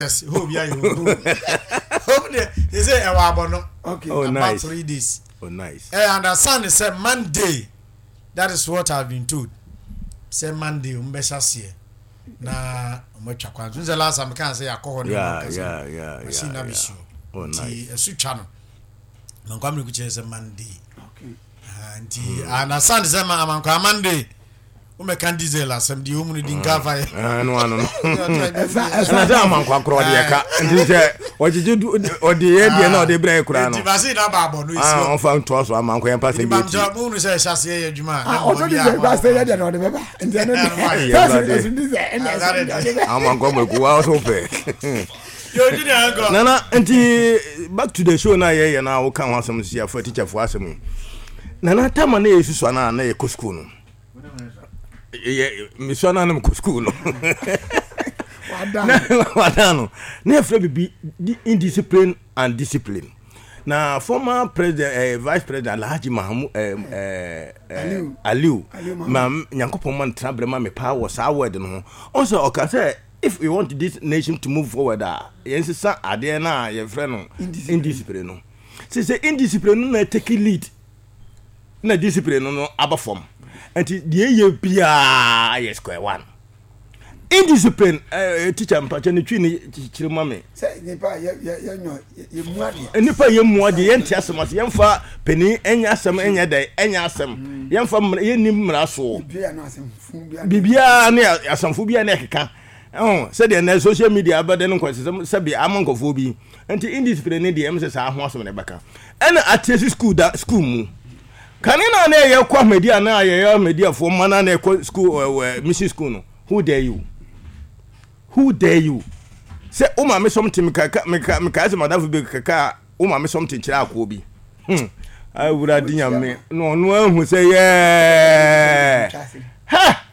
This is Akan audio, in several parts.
Yes, hope yeah, you hope. Hope de, they say ɛwɔ abɔ Okay. Oh, About nice. 3 days. Oh, nice. Understand sɛ Monday, that is what I've been told. Sɛ Monday, ɔmo bɛhyɛ aseɛ na ɔmo atwa kwan. So sɛ last time kan sɛ yɛakɔ hɔ ne ɔmo kasa. Machine na bɛsi hɔ. Oh, Nti nice. ɛso twa no. Mankwa mmerɛ kukyerɛ sɛ Monday. Ah, nti understand sɛ ma amankwa Monday. Womɛka diesel asɛm deɛ ɔmu no di nka fa yɛ. Ah, no ano no. Ɛsa Ɛna ɛsa sɛ amankwa korɔ ɔde yɛ ka. Nti sɛ ɔgyegye du ɔde yɛ deɛ na ɔde brɛ yɛ koraa no. Nti machine na ba abɔ no esi Ah, hɔ. ɔmfa ntoa so amankwa yɛn pa sɛm Nti bi eti. bamkyɛ mo hunu sɛ ɛhyɛ aseɛ yɛ adwuma a. Ah, na ɔtɔ mmɔ di bi sɛ a gba sɛ yɛ deɛ na ɔde bɛba. Nti ɛno Ɛno deɛ. ayɛ. Sɛ Awurade. ɛso di sɛ ɛna ɛso deɛ ɔde bɛba. Amankwa mako wa so pɛ. Yo, Junior, uncle. Nana, nti back to the show na yɛyɛ na woka ho asɛm si afa teacherfoɔ asɛm yi. Nana, tama na yɛsusua no a na yɛkɔ school no. Yɛ mesua no a na mekɔ school no. Wada. Na wada no. Na yɛfrɛ biribi indiscipline and discipline. Na former president, vice president Alhaji Mahamu Aliu. Aliu Aliu Mahmoud. Ma Nyankopɔn ma no tena berɛ ma me paa wɔ saa word no ho. Ɔn sɛ ɔka sɛ if we want this nation to move forward a, yɛnsesa adeɛ no a yɛfrɛ no Indiscipline. indiscipline no. Sɛ indiscipline no na take lead na discipline no aba fam. Nti deɛ ɛyɛ biara yɛ square one. Indiscipline, teacher mpakyɛ ne twi ne kyerɛ ma me. Sɛ nipa yɛ yɛ yɛ nyɔ yɛ mu adeɛ. Nipa yɛ mu adeɛ, yɛnte asɛm ase, yɛmfa panin ɛnyɛ asɛm, ɛnyɛ dɛ ɛnyɛ asɛm, yɛmfa mmara, yɛnni mmara soɔ. Ebi yɛ no asɛm fun bi adeɛ. Biribiara ne asɛmfo biara ne ɛkeka. Ɛho sɛdeɛ nnɛ social media abɛde no nkɔsɛsɛm sɛbi ama nkɔfoɔ bi. Nti indiscipline ne deɛ ɛm sɛ saa ho asɛm na ɛbɛka. Ɛna atease school da school mu. Kane na na yɛ kɔ Ahmadiyya na yɛyɛ Ahmadiyyafoɔ mma na na yɛkɔ school mission school no. Who dare you? Who dare you? Sɛ wo maame something meka meka meka sɛ madamfo bi kaka wo maame something kyerɛ akoɔ bi. Awurade Nyame na ɔno ahu sɛ yɛɛ. Ha!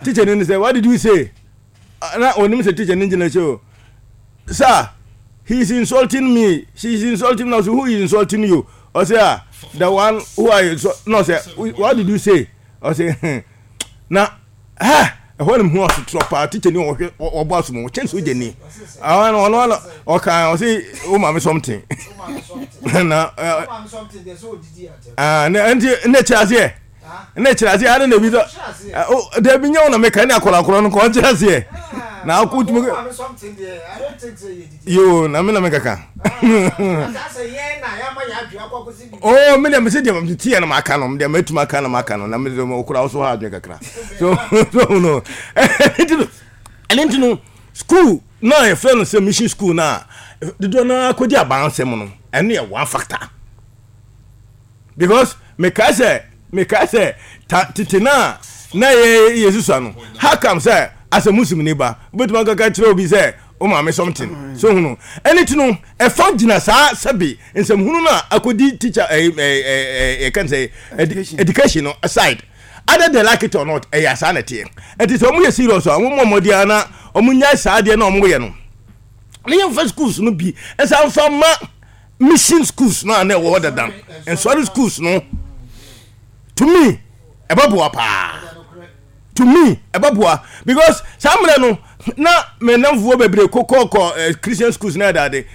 Teacher ni sɛ what did you say? Na onim sɛ teacher ni gyina akyi o. Sir, he is insulting me. She is insulting me. So who is insulting you? Ɔsɛ ah, the one who I insult. No, sɛ what did you say? Ɔsɛ na ha ɛhɔ na mehu asotorɔ paa. Teacher ni ɔhwɛ ɔbɔ asom ɔkyɛn so gyani. Ɔno ɔno ɔno ɔka ɔsɛ wo maame something. Na ah na nti na kyerɛ aseɛ. Na kyerɛ aseɛ ade na ebi sɛ dabi nyɛ wo na meka ne akɔrakɔrɔ no kɔ ɔnkyerɛ aseɛ. Na akɔ tumi yo na me na mekaka. Oh, me deɛ mese deɛ meteɛ no maka no deɛ matumi aka no maka no na mese wokora wo so ha adwene kakra. So no ɛno nti no school na yɛfrɛ no sɛ mission school no a dodoɔ no ara kɔdi abansɛm no, ɛno yɛ one factor. Because mekae sɛ mekae sɛ ta tete no a na yɛ yɛsusua no, how come sɛ as a Muslim ni ba wobɛtumi akaka kyerɛ obi sɛ wo maame something so hunu. Ɛno nti no ɛfa gyina saa sɛbe nsɛmhunu no a akɔdi teacher ɛyi ɛyi ɛyi yɛka no sɛ education no aside. Either they like it or not, ɛyɛ saa na ɛteɛ. Ɛnti sɛ wɔn yɛ serious a, wɔn mmɔ mmɔden ara na wɔn nyae saa adeɛ na wɔn yɛ no. Ne yɛn fa schools no bi ɛsan fa ma mission schools no a na ɛwɔ hɔ dada, nsɔre schools no. To me, ɛbɛboa paa. To me, ɛbɛboa because saa mmerɛ no na me nnamfoɔ bebree kɔ kɔ Christian schools na ɛdaade.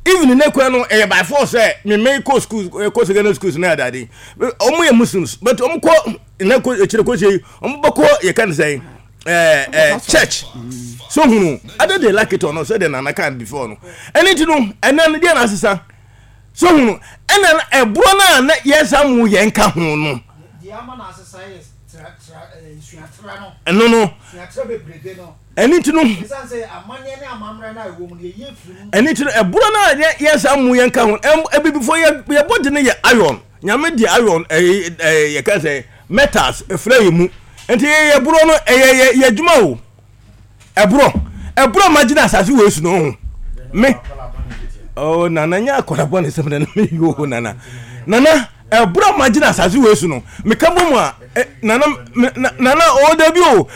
Even ne kura no ɛyɛ by force sɛ me me kɔ schools kɔ secondary schools na ɛdaade. Wɔn yɛ Muslims but wɔn kɔ na kɔ akyire kɔ hyɛ yi wɔn bɛkɔ yɛ ka ne sɛn ɛɛ church so hunu either they like it or not sɛ de nana kan before no ɛne ti no ɛnɛ no deɛ na asesa so hunu ɛna ɛborɔ no a na yɛn sa mu yɛn ka ho no. Ɛno no, ɛno nti no, ɛno nti no, ɛborɔ no a yɛn saa mu yɛn ka ho, abibifoɔ yɛ yɛbɔ de no yɛ iron, Nyame de iron ɛyɛ ɛyɛ yɛka sɛ metals efra yɛ mu, nti yɛ yɛ borɔ no ɛyɛ yɛ yɛ adwuma o, ɛborɔ ɛborɔ ma gyina asase wɔ esu no ho me oh nana nyɛ akɔla bɔ ne sɛm nana me yo nana nana. Ɛberɛ a magyina asase wei so no, meka bɔ mu a, nana, nana, o dabi o,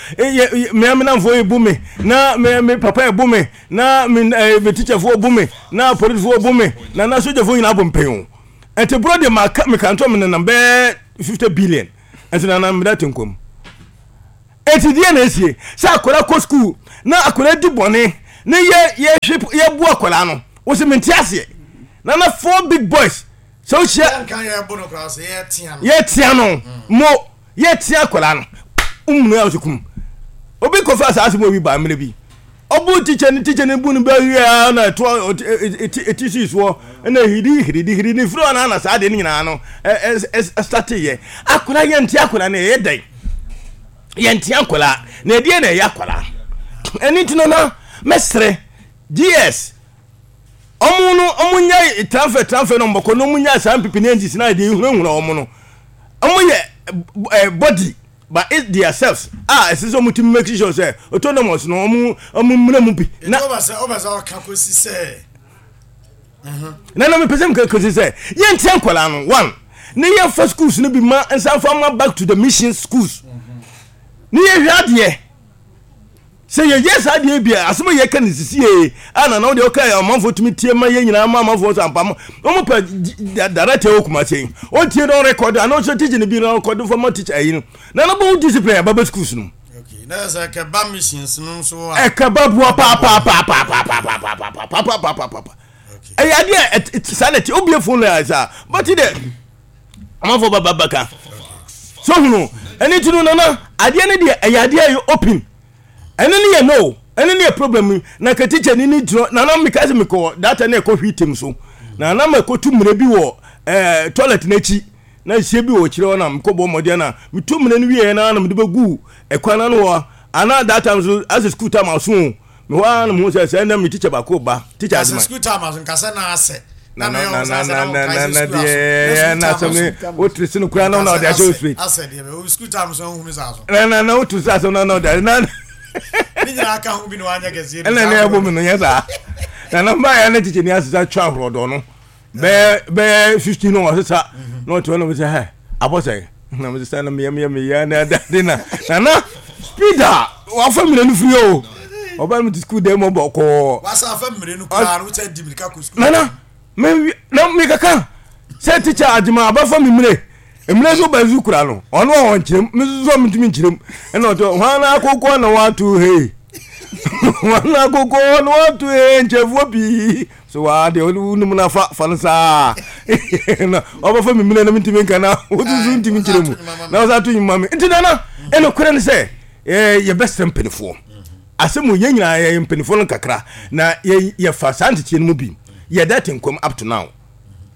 me amenamfoɔ yi bu me, na me, me papa yi bu me, na me, me tikyafoɔ bu me, na polisifoɔ bu me, na na sogyafoɔ nyinaa bɔ mpɛn o. Ɛnti borɔ deɛ maka, meka nto me nenam bɛɛ 50 billion. Ɛnti nana meda te nkwa mu. Enti deɛ na esie? Sɛ akwadaa kɔ sukuu na akwadaa di bɔne. ne yɛ yɛhwe yɛbu akwadaa no wɔsɛ mente aseɛ. Nana four big boys sɛ wohyia yɛtea no mo yɛtea akwadaa no womunu a wosɛ kum obi kɔfa saa asɛm obi baa mmerɛ bi ɔbu tikya ne tikya ne bu no bɛwie na ɛtoa ɛti sii soɔ ɛna hidi hiridi hiridi ne firi ɔna na saa deɛ no nyinaa no ɛsateyɛ akwadaa yɛnte akwadaa no ɛyɛ dɛn yɛnte akwadaa na ɛdeɛ na ɛyɛ akwadaa ɛne nti no na mɛsrɛ gs Ɔmo no ɔmo nya transfer transfer na ɔmo bɛkɔ na ɔmo nya saa mpipi ne engines na deɛ ehunahuna ɔmo no ɔmo yɛ eh, body but it their selves a ɛsɛ sɛ ɔmo ti make sure sɛ autonomous no ɔmo ɔmo mmira mu bi. Na ɔbɛ sɛ ɔbɛ sɛ ɔka kosi sɛ. Na na mepɛ sɛ meka kosi sɛ yɛntia nkwadaa no one ne yɛmfa schools no bi ma nsanfa ma back to the mission schools ne yɛhwɛ adeɛ. Sɛ yɛyɛ saa adeɛ bi a, asɛm a yɛka no sisie a na na wodeɛ woka amanfoɔ tumi tie ma yɛ nyinaa ma amanfoɔ sɛ ampa wɔn pɛ director wɔ Kumasi yi ɔntie na ɔrekɔdo anaa ɔsɛ teacher no bi na ɔrekɔdo fama teacher ayi no na na bɛwo discipline aba bɛ schools no na sɛ ɛkɛba missions no nso a ɛkɛba boa paapaapaapaapaapaapaapaapaapa ɛyɛ adeɛ a saa na ɛte obie phone na saa bɛte dɛ amanfoɔ ba ba bɛka so hunu ɛne ti no nana adeɛ no deɛ ɛyɛ adeɛ a ɛyɛ open ɛno ne yɛ no ɛno ne yɛ problem yi na ka teacher ni ne gyina nana meka sɛ mekɔ data na ɛkɔ hwi tem so na na mekɔtu mmerɛ bi wɔ ɛɛ toilet n'akyi na nhyia bi wɔ akyire hɔ na mekɔ bɔ mmɔden na metu mmerɛ no wieɛ na na mede bɛgu ɛkwan no ano hɔ ana that time so asɛ school time aso o mehɔ ara na mehu sɛ sɛ ɛnna me teacher baako ba teacher adwuma sɛ school time aso nkasɛ na asɛ na na na na na na na deɛ na asɛm ne wotiri si no koraa na ɔde ahyɛ wo straight asɛ deɛ bɛ school time so nhunu saa so na na na wotiri si asɛm na na ɔde na ne nyinaa ka ho bi na wanyɛ kɛseɛ ɛna ne ɛbɔ mi no nyɛ saa na na mmaa yɛ ne teacher ni asesa twa ahorɔdɔ no bɛyɛ bɛyɛ 15 no ɔsesa na ɔte hɔ na ɔsɛ hɛ abɔ sɛ na mo sesa na meyɛ meyɛ meyɛ na ɛda na na na speed a wafa mmerɛ no firi o ɔba mi ti sukuu dɛm ɔbɔ kɔɔ wasa afa mmerɛ no koraa no wosɛ di mirika kɔ sukuu nana me na mekaka sɛ tikya agyema abafa me mmerɛ mmerɛ nso ba nso kura no ɔno a ɔnkyerɛm me nso so mentumi nkyerɛm ɛna ɔtɔ hwan na akokɔ na wato hei hwan na akokɔ na wato hei nkyɛfoɔ pii so waa deɛ wonim no fa fa no saa na ɔbɛfa me mmerɛ na mentumi nka na wosusu ntumi nkyerɛ mu na wɔsa to nwuma me nti nana ɛnokorɛ ne sɛ yɛbɛsrɛ mpanimfoɔ asɛm yɛn nyinaa yɛyɛ mpanimfoɔ no kakra na yɛfa saa nteteɛ no mu bi yɛda te nkwam up to now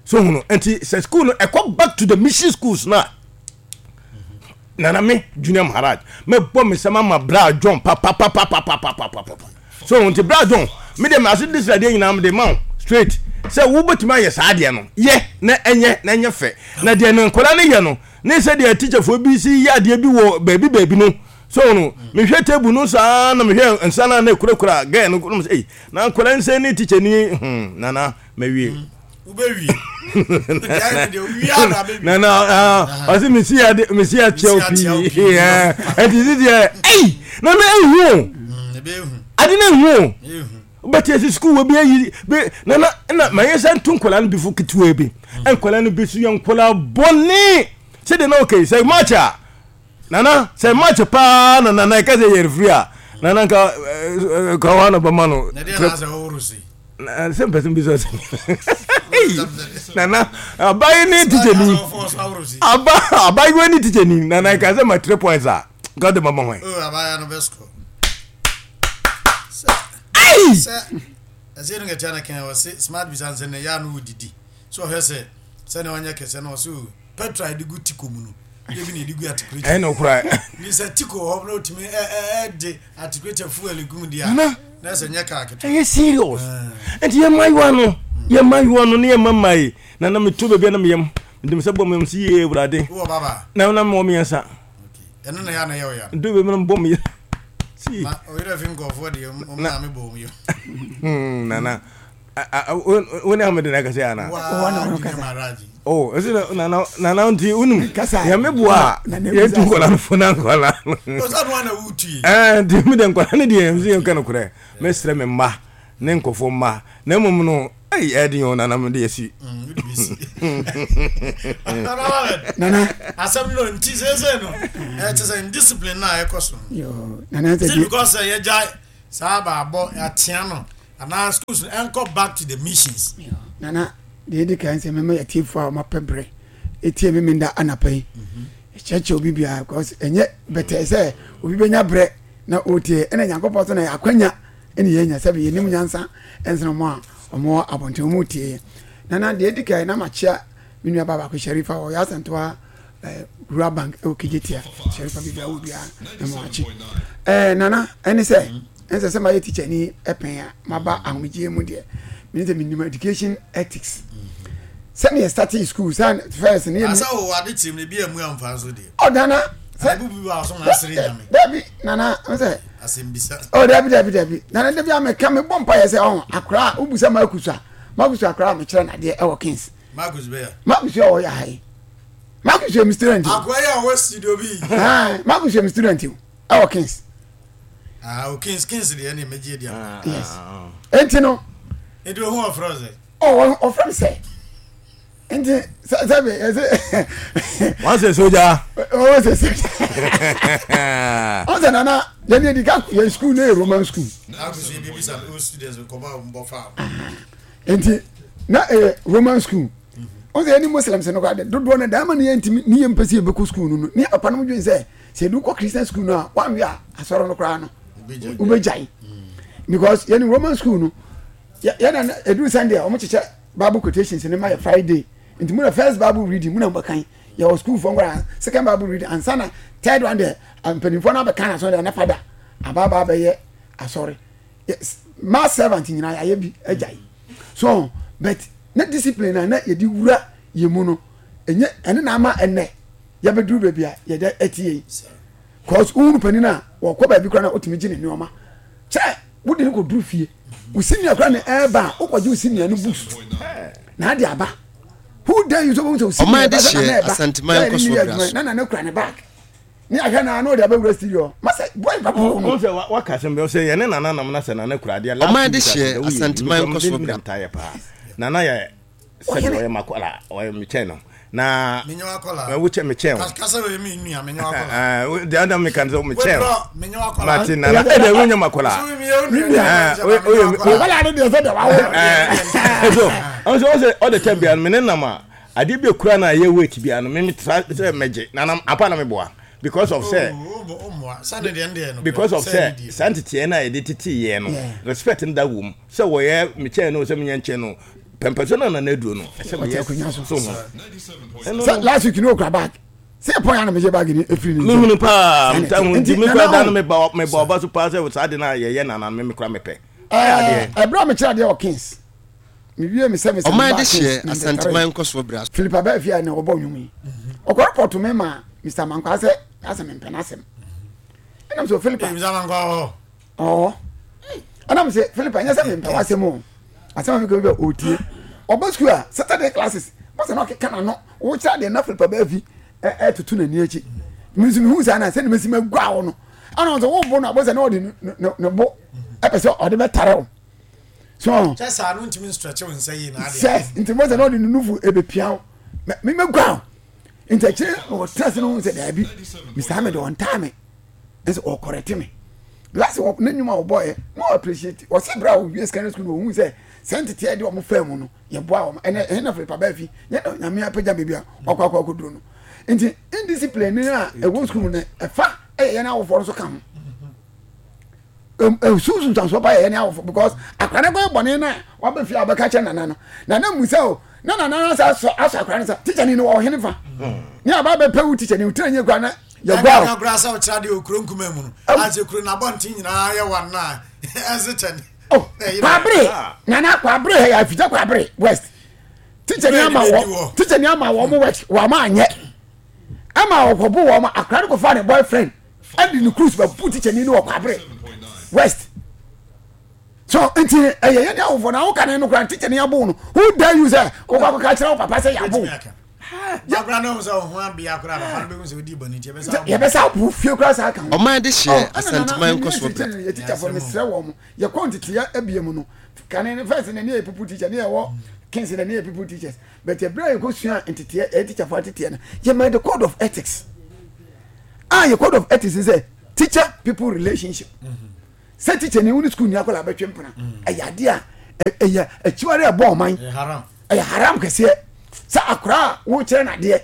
so hunu nti sɛ school no ɛkɔ back to the mission schools no a nana me junior maharaj mɛbɔ me nsɛm ama bra john papapapapapapapa so nti bra john me deɛ maso de sradeɛ nyinaa mede ma wo straight sɛ wobɛtumi ayɛ saa adeɛ no yɛ na ɛnyɛ na ɛnyɛ fɛ na deɛ no nkwadaa no yɛ no ne sɛ deɛ teacherfoɔ bi si yɛ adeɛ bi wɔ baabi baabi no so no mehwɛ table no saa na mehwɛ nsa no a na ɛkurakura gɛɛ no na mesɛ na nkwadaa nsɛn ne teacher ni hmm, nana mawie mm. wobɛwie nana ɔse mesi mesi akyɛw pii ɛnti si deɛ ei nana ehu o ade na ehu o wobɛte ase sukuu wɔ bi ayi bi nana na ma yɛ sɛ nto nkwadaa no bi fo ketewa bi nkwadaa no bi so yɛ nkwadaa bɔne sɛdeɛ na ɔkɛ sɛ match a Nana sɛ match paa na nana ɛka sɛ yɛ refri a nana nka ka hɔ na bɛma no. Na deɛ na sɛ ɔworo si. Na sɛ mpɛ sɛ mbisa sɛ. Nana abayi ne teacher ni aba abayewa ne teacher ni nana ɛka sɛ ma 3 points a nka de mama hwan. Oh abaya no bɛ score. Ayi. Sɛ ɛsɛ no kɛkyɛ na kɛn ɔse smart bisa nsɛ ne ya no wodidi so ɔhwɛ sɛ sɛ ne ɔnyɛ kɛsɛ na ɔse o petrol a yɛde gu tiko mu no yɛ bi na yɛde gu atikuleta ɛyɛ nokorɛ ni sɛ tiko hɔ na otumi ɛde atikuleta fuel gu mu deɛ a na ɛsɛ nyɛ kaa ketewa ɛyɛ serious nti yɛ mmayewa no yɛ mmayewa no ne yɛ mma mmae na na meto baabi a na meyam mede me sɛ bɔ meyam si yie awurade wowɔ baba na na mewɔ mmiɛnsa ɛno na yɛ ana yɛ ɔya nto baabi na mebɔ meyam si na ɔyerɛ fi nkɔfoɔ deɛ ɔmo maame bɔ ɔmo yam nana wo ne amede na ɛkasa ana oh ɛsɛ na na na na nti wonim yɛme boa a yɛtu nkɔla no fo na nkɔla ɛɛ nti mi de nkɔla no deɛ nso yɛnka no korɛ mɛsrɛ me mma ne nkɔfoɔ mma na mmom no ɛyi ɛde yɛn nana mo de asi. nana asɛm no nti sɛsɛ no ɛkyɛ sɛ indiscipline na ɛkɔ so nana sɛ because yɛgya. Saa baabɔ atea no anaa schools no ɛnkɔ back to the missions. Nana, deɛ ɛdi kan sɛ mɛma yɛtiefoɔ a wɔapɛ berɛ ɛtie me menda anapa yi ɛkyerɛkyerɛ obi biara because ɛnyɛ bɛtɛɛ sɛ obi bɛnya berɛ na ɔretie ɛna Nyankopɔn so na yɛ akwanya ɛne yɛnya sɛ yɛnim nyansa ɛnsene wɔn a wɔwɔ abɔnten wɔn retie yɛ. Nana, deɛ ɛdi kan na makyea me nua baa baako Sharifa ɔyɛ Asantewa eh, Rural Bank ɛwɔ Kejetia Sharifa baabi a wɔ biara na ma wakye eh, Nana ɛne sɛ ɛnsɛ sɛ mayɛ teacher ni ɛpɛn a maba ahomegyeɛ mu deɛ mene sɛ menim education ethics sɛne yɛ starting school sɛ first ne yɛ o ade kyerɛ mu bi amu amfa so deɛ oh nana sɛ bu bi wa so na asere nyame dabi nana sɛ asɛmbisa oh dabi dabi dabi nana dabi a meka mebɔ mpa yɛ sɛ ɔho akora wobusa makusu a makusu akora a mekyerɛ nadeɛ ɛwɔ kings Marcus bɛyɛ. Marcus yɛ ɔyɛ ha yi. Marcus yɛ mi student. Akɔyɛ yɛ ɔwɔ studio bi. Marcus yɛ mi student o ɛwɔ Kings. Ah o Kings Kings deɛ ɛna ɛmɛgye di ama. Yes. Enti no. Eti ohun ɔfrɛ sɛ. Ɔ ɔfrɛ mi sɛ. Nti sɛ sɛ bi ɛsɛ. Wɔn sɛ soja. Wɔn sɛ soja. Wɔn sɛ nana yɛn ni edi ka yɛn school ne yɛ Roman school. Marcus yɛ bi bisa o students kɔba mbɔ fa. Nti na ɛyɛ roman school wọn sɛ yɛne muslims no koraa de dodoɔ no daa ma ne yɛntumi ne yɛmpɛ sɛ yɛbɛkɔ school no no ne papa no dwen sɛ sɛ yɛde wokɔ christian school no a woanwe a asɔre no koraa no wobɛgyae because yɛne roman school no yɛna ɛduru sunday a wɔkyekyɛ bible quotations no ma yɛ friday nti mu na first bible reading mu na mobɛkan yɛwɔ school foɔ nkora second bible reading ansa na third one deɛ mpanimfoɔ no abɛka na asɔre deɛ na fada abaaba abɛyɛ asɔre mass servant nyinaa yɛayɛ bi agyae so but na discipline a na yɛde wura yɛ mu no ɛnyɛ ɛne na ama ɛnɛ yɛbɛduru baabi a yɛde ɛte yɛ yi cause wohunu panin a wɔkɔ baabi koraa na wotumi gye ne nneɛma kyɛ wode no kɔduru fie wo senior koraa na ɛreba a wokɔgye wo senior no books na ade aba who dare you sɛ wobɛhu sɛ wo senior ba sɛ na ɛba na nana kura ne bag ne ahwɛ na ano de abɛwura studio masɛ boy papa wo no. Sɛ waka asɛm bi sɛ yɛne nana nam na sɛ nana kura adeɛ last week asɛ woyɛ mekura mede nam taayɛ paa nana yɛ sɛbi ɔyɛ makɔla ɔyɛ mekyɛn no na wokyɛ mekyɛn wo deɛ ɔda meka sɛ mekyɛn wo mate nana ɛdɛ wonyɛ makɔla so ɔsɛ ɔde tɛm bia no mene nam a Adeɛ bi ekura na ɛyɛ weight bi ano me tra sɛ mɛgye na na apa na meboa because of sɛ oh, because of sɛ saa nteteɛ no a yɛde tete yɛn no respect no da wom sɛ wɔyɛ mekyɛn no sɛ menyɛ nkyɛn no pɛmpɛso no nana aduro no ɛsɛ meyɛ so ho sɛ last week no okura bag sɛ ɛpɔn ya na megye bag ni efiri ne mehunu paa nti mekura da no meba ɔba so paa sɛ saa de no a yɛyɛ nana no memekura mepɛ ɛberɛ a mekyerɛ adeɛ wɔ kings mewie me service ɔman de hyeɛ asanteman nkɔsoɔ bra philip abɛɛfia na ɔbɔ nnwom yi ɔkɔ report me ma mr mankwa sɛ asɛ mempɛ n'asɛm ɛnam sɛ philip ɔɔ ɛnam sɛ philip ɛnyɛ sɛ mempɛ w'asɛm o asɛm a meka bi ɔtie ɔba sukuu a saturday classes bɔsɛ na ɔkeka n'ano wokyerɛ adeɛ na philip abɛɛfi ɛtoto n'ani akyi me nso mehu saa na sɛde mɛsi magua wo no ɛna ɔsɛ wobo no abɔsɛ na ɔde ne bo ɛpɛ sɛ ɔde bɛtare wo so kyɛ saa no ntumi nstretch wo nsa yie na adeɛ sɛ nti mo sɛ na ɔde ne nufu ebepia wo me me gua wo nti akyire ɔtena ase no ho sɛ daabi mr ahmed ɔntaa me nso ɔkɔrɛte me last wɔ ne nnwuma a ɔbɔɔyɛ na ɔ appreciate ɔsɛ berɛ a ɔwie secondary school no ɔhu sɛ sɛ nteteɛ de ɔmo faa mu no yɛboa wɔn ɛnɛ ɛhe na filipa baa fi nyɛ na nyame apagya baabi a ɔkɔ akɔ akɔduro no nti indiscipline no a ɛwɔ school no ɛfa ɛyɛ yɛn awofoɔ no so ka ho sunsun nsansoɔ pa yɛ yɛn awofo because akora no kɔyɛ bɔne no a waba fie a ɔbɛka kyerɛ nana no nana mu sɛ o na nana no asa asɔ asɔ akora no sa tikya ni no wɔ ɔhene fa ne aba bɛpɛ wo tikya ni wotena nyɛ kura na yɛgua o. Ɛnna sɛ ɔkyerɛ adeɛ wɔ kuro nkuma mu no asɛ kuro n'abɔnten nyinaa yɛ wa na ɛnse kyɛ ne. Oh, kwabere nana kwabere hɛ yɛ afigya kwabere west tikya ni ama wɔ tikya ni ama wɔn west wɔn ama anyɛ ɛma ɔkɔbo wɔn akora no kɔfa ne boyfriend. ɛde ne cruise bɛ bu tikyani no wɔ kwabere west so nti ɛyɛ yɛn awofo na awoka ne no kora tikyani abo no who dare you sɛ wokɔ akɔka kyerɛ wo papa sɛ yɛabo yɛbɛsa abo fie kora saa ka ho ɔman de hyeɛ asanteman nkɔsoɔ brɛ yɛ tikyafoɔ mesrɛ wɔ mo yɛkɔ nteteɛ abie mu no kane ne first na ne yɛ people teacher ne yɛwɔ kings na ne yɛ people teachers but ɛberɛ a yɛkɔsua nteteɛ ɛyɛ tikyafoɔ ateteɛ no yɛma the code of ethics a yɛ code of ethics sɛ teacher people relationship. Sɛ teacher ni wo ne school ni akwadaa bɛtwe mpena ɛyɛ adeɛ a ɛyɛ akyiwade a ɛbɔ ɔman. Ɛyɛ haram kɛseɛ sɛ akwadaa a wokyerɛ no adeɛ.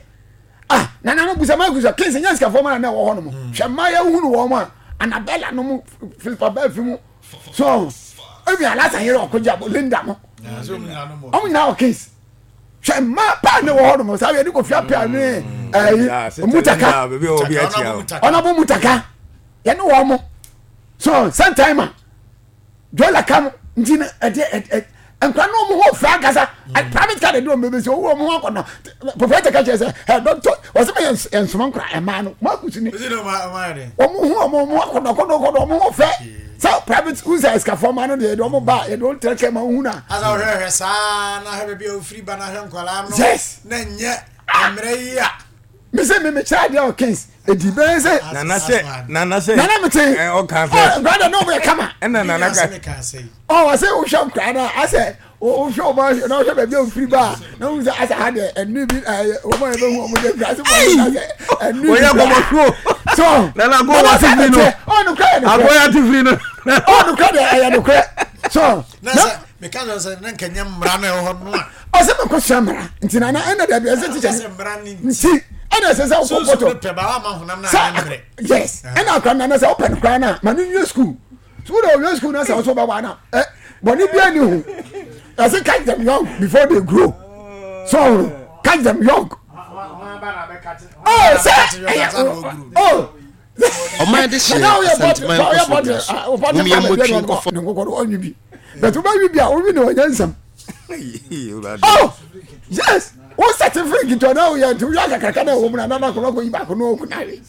Ah, nana no busa maa kusa kings nyɛ sikafoɔ ma na ɛwɔ hɔ nom. Hwɛ mmaa yɛ hunu wɔn a Anabella no mu Philippa Bɛfi mu so ebi alasa yɛrɛ ɔkɔgye abo Linda mo. Wɔn nyinaa wɔ kings. Hwɛ mmaa paa ne wɔ hɔ nom saa yɛ de kofi apia ne ɛyi mutaka ɔnabɔ mutaka yɛne wɔn mo so sometime dɔla ka mo nti na ɛde ɛ nkwa no ɔmo ho fɛ ankasa mm. private car de wɔn bɛbɛ si owó ɔmo ho akɔnɔ proprietor ka kyerɛ sɛ ɛ dɔkitɔ wɔsɛ mɛ yɛn nsoma nkora ɛmaa no mo akusi ni ɔmo ho ɔmo ho akɔnɔ akɔnɔ akɔnɔ ɔmo ho fɛ sɛ private school sɛ ɛsikafoɔ maa no deɛ yɛde ɔmo ba yɛde ɔmo tẹrɛ kɛ ma ohun na. asa ɔhwɛ hwɛ saa na hwɛ baabi a ofiri ba na hwɛ nkwadaa no. Yes. Na nyɛ mmerɛ yi a. Mi sɛ mi mi kyerɛ adeɛ wɔ Kings edi bɛyɛ sɛ. Nana sɛ nana sɛ. Nana mi te. Ɛ ɔka sɛ. Ɔ nkwadaa deɛ n'ɔmo yɛ kama. Ɛna nana ka. Ɔ ɔsɛ wohwɛ nkwadaa no a asɛ wohwɛ ɔmo na wohwɛ baabi a ofiri ba a na wohu sɛ asɛ ha deɛ ɛnu bi ɛyɛ wɔn a yɛbɛhu wɔn deɛ nkwadaa sɛ wɔn asɛ ɛnu bi Wɔyɛ kɔmɔsuo. So Nana ko wa ti firi no. Ɔ nukura yɛ nukurɛ. Akɔya ti firi no. Ɔ nukura deɛ ɛyɛ nukurɛ. So. Na sɛ meka kyerɛ sɛ na nka nyɛ mmara na ɛwɔ hɔ no a. Ɔsɛ mekɔ sua mmara nti nana ɛna dabi ɛsɛ tikya nti ɛna ɛsɛ sɛ wokɔ bɔtɔ sɛ yes ɛna akora nana sɛ wopɛ no koraa no a ma no nwie school so wode ɔwie school no sɛ wo so wobɛwa no ɛ bɔne bia ni ho ɛsɛ catch them young before they grow so catch them young oh sɛ ɛyɛ oh Ɔman de hyɛ Asanteman nkɔsoɔ bra so. Mom yɛmmɔ twi nkɔfɔ. Ne nkokɔ no ɔnwe bi but wobɛwe bi a wowe ne ɔnyɛ nsɛm oh yes wo sɛte firi nketewa na woyɛ nti woyɛ akakraka na ɛwɔ mu na nana akɔlɔ kɔyi baako na ɔku nawe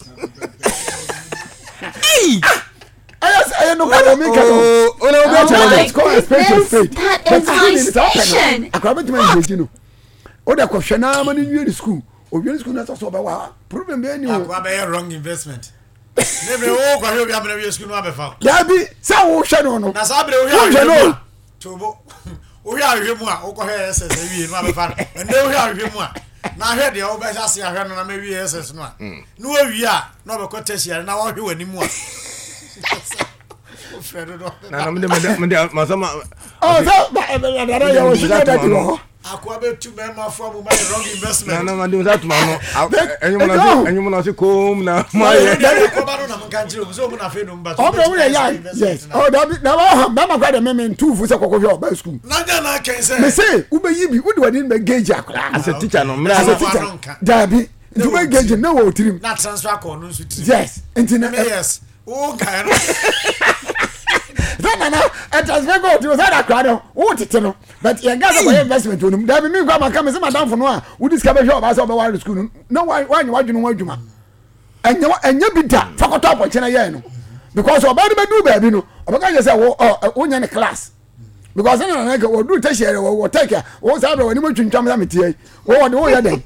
ɛyɛ sɛ ɛyɛ nokora na meka no let's call a spade a spade but sukuu ni sɛ ɔpɛ no akora bɛtumi ayɛ no wode kɔhwɛ na ama no nwie ne sukuu owie sukuu na sɛ sɛ ɔbɛwɔ ha problem bɛyɛ ni o. Akoa bɛyɛ wrong investment. Ne bere wo kɔhwɛ obi amena wie sukuu no abɛfa wo. Dabi sɛ wohwɛ no no. Na saa bere wohwɛ ahwehwɛ mu a tobo wohwɛ ahwehwɛ mu a wokɔhwɛ SS awie no abɛfa no. Ɛnɛ wohwɛ ahwehwɛ mu a na ahwɛ deɛ wobɛhyɛ ase ahwɛ no na ma wie SS no a hmm. na wawie a na ɔbɛkɔ tertiary na wɔhwɛ w'anim a. Na na mede mede mede masama. Ɔ sɛ dada yɛ wɔ sugar daddy wɔ hɔ. Akoa bɛ tu mɛma fo amu ma yɛ wrong investment. Na na ma de nsa tuma no. Ɛnyum na se kom na ma yɛ. Kɔba no na mo nka nkyerɛ mu sɛ ɔmu na afei no mba. Ɔbɛ wo yɛ ya yes. Ɔ dabi na wa ha bɛma kora de mɛmɛ ntu fu sɛ kɔkɔ hwɛ ɔba sukuu. Na nya na akɛn sɛ. Mɛ se wobɛ yi bi wode w'ani bɛ gauge akora. Asɛ teacher no mmerɛ. Asɛ teacher dabi nti wobɛ gauge na wɔ tirim. Na transfer akɔ ɔno nso tirim. Yes nti na. Yes. Wo nkae no. Sɛ nana ɛtransfer kɔ tirim sɛ da akora no wo tete no. But yɛn kasa kɔyɛ investment wɔ no mu. Dabi mi nkɔ ama ka mi sɛ madamfo no a wodi sika bɛhwɛ ɔbaa sɛ ɔbɛware no sukuu no na wanyɛ wadwene ho adwuma. Ɛnyɛ ɛnyɛ bi da fa kɔtɔ apɔnkye na yɛn no because ɔbaa no bɛduru baabi no ɔbɛka kyerɛ sɛ wo ɔ wonyɛ ne class because ɛna nana kɛ wɔduru tertiary wɔ wɔ tech a wo saa bɛ wɔn anim atwintwam sɛ meteɛ yi wo wɔde woyɛ dɛn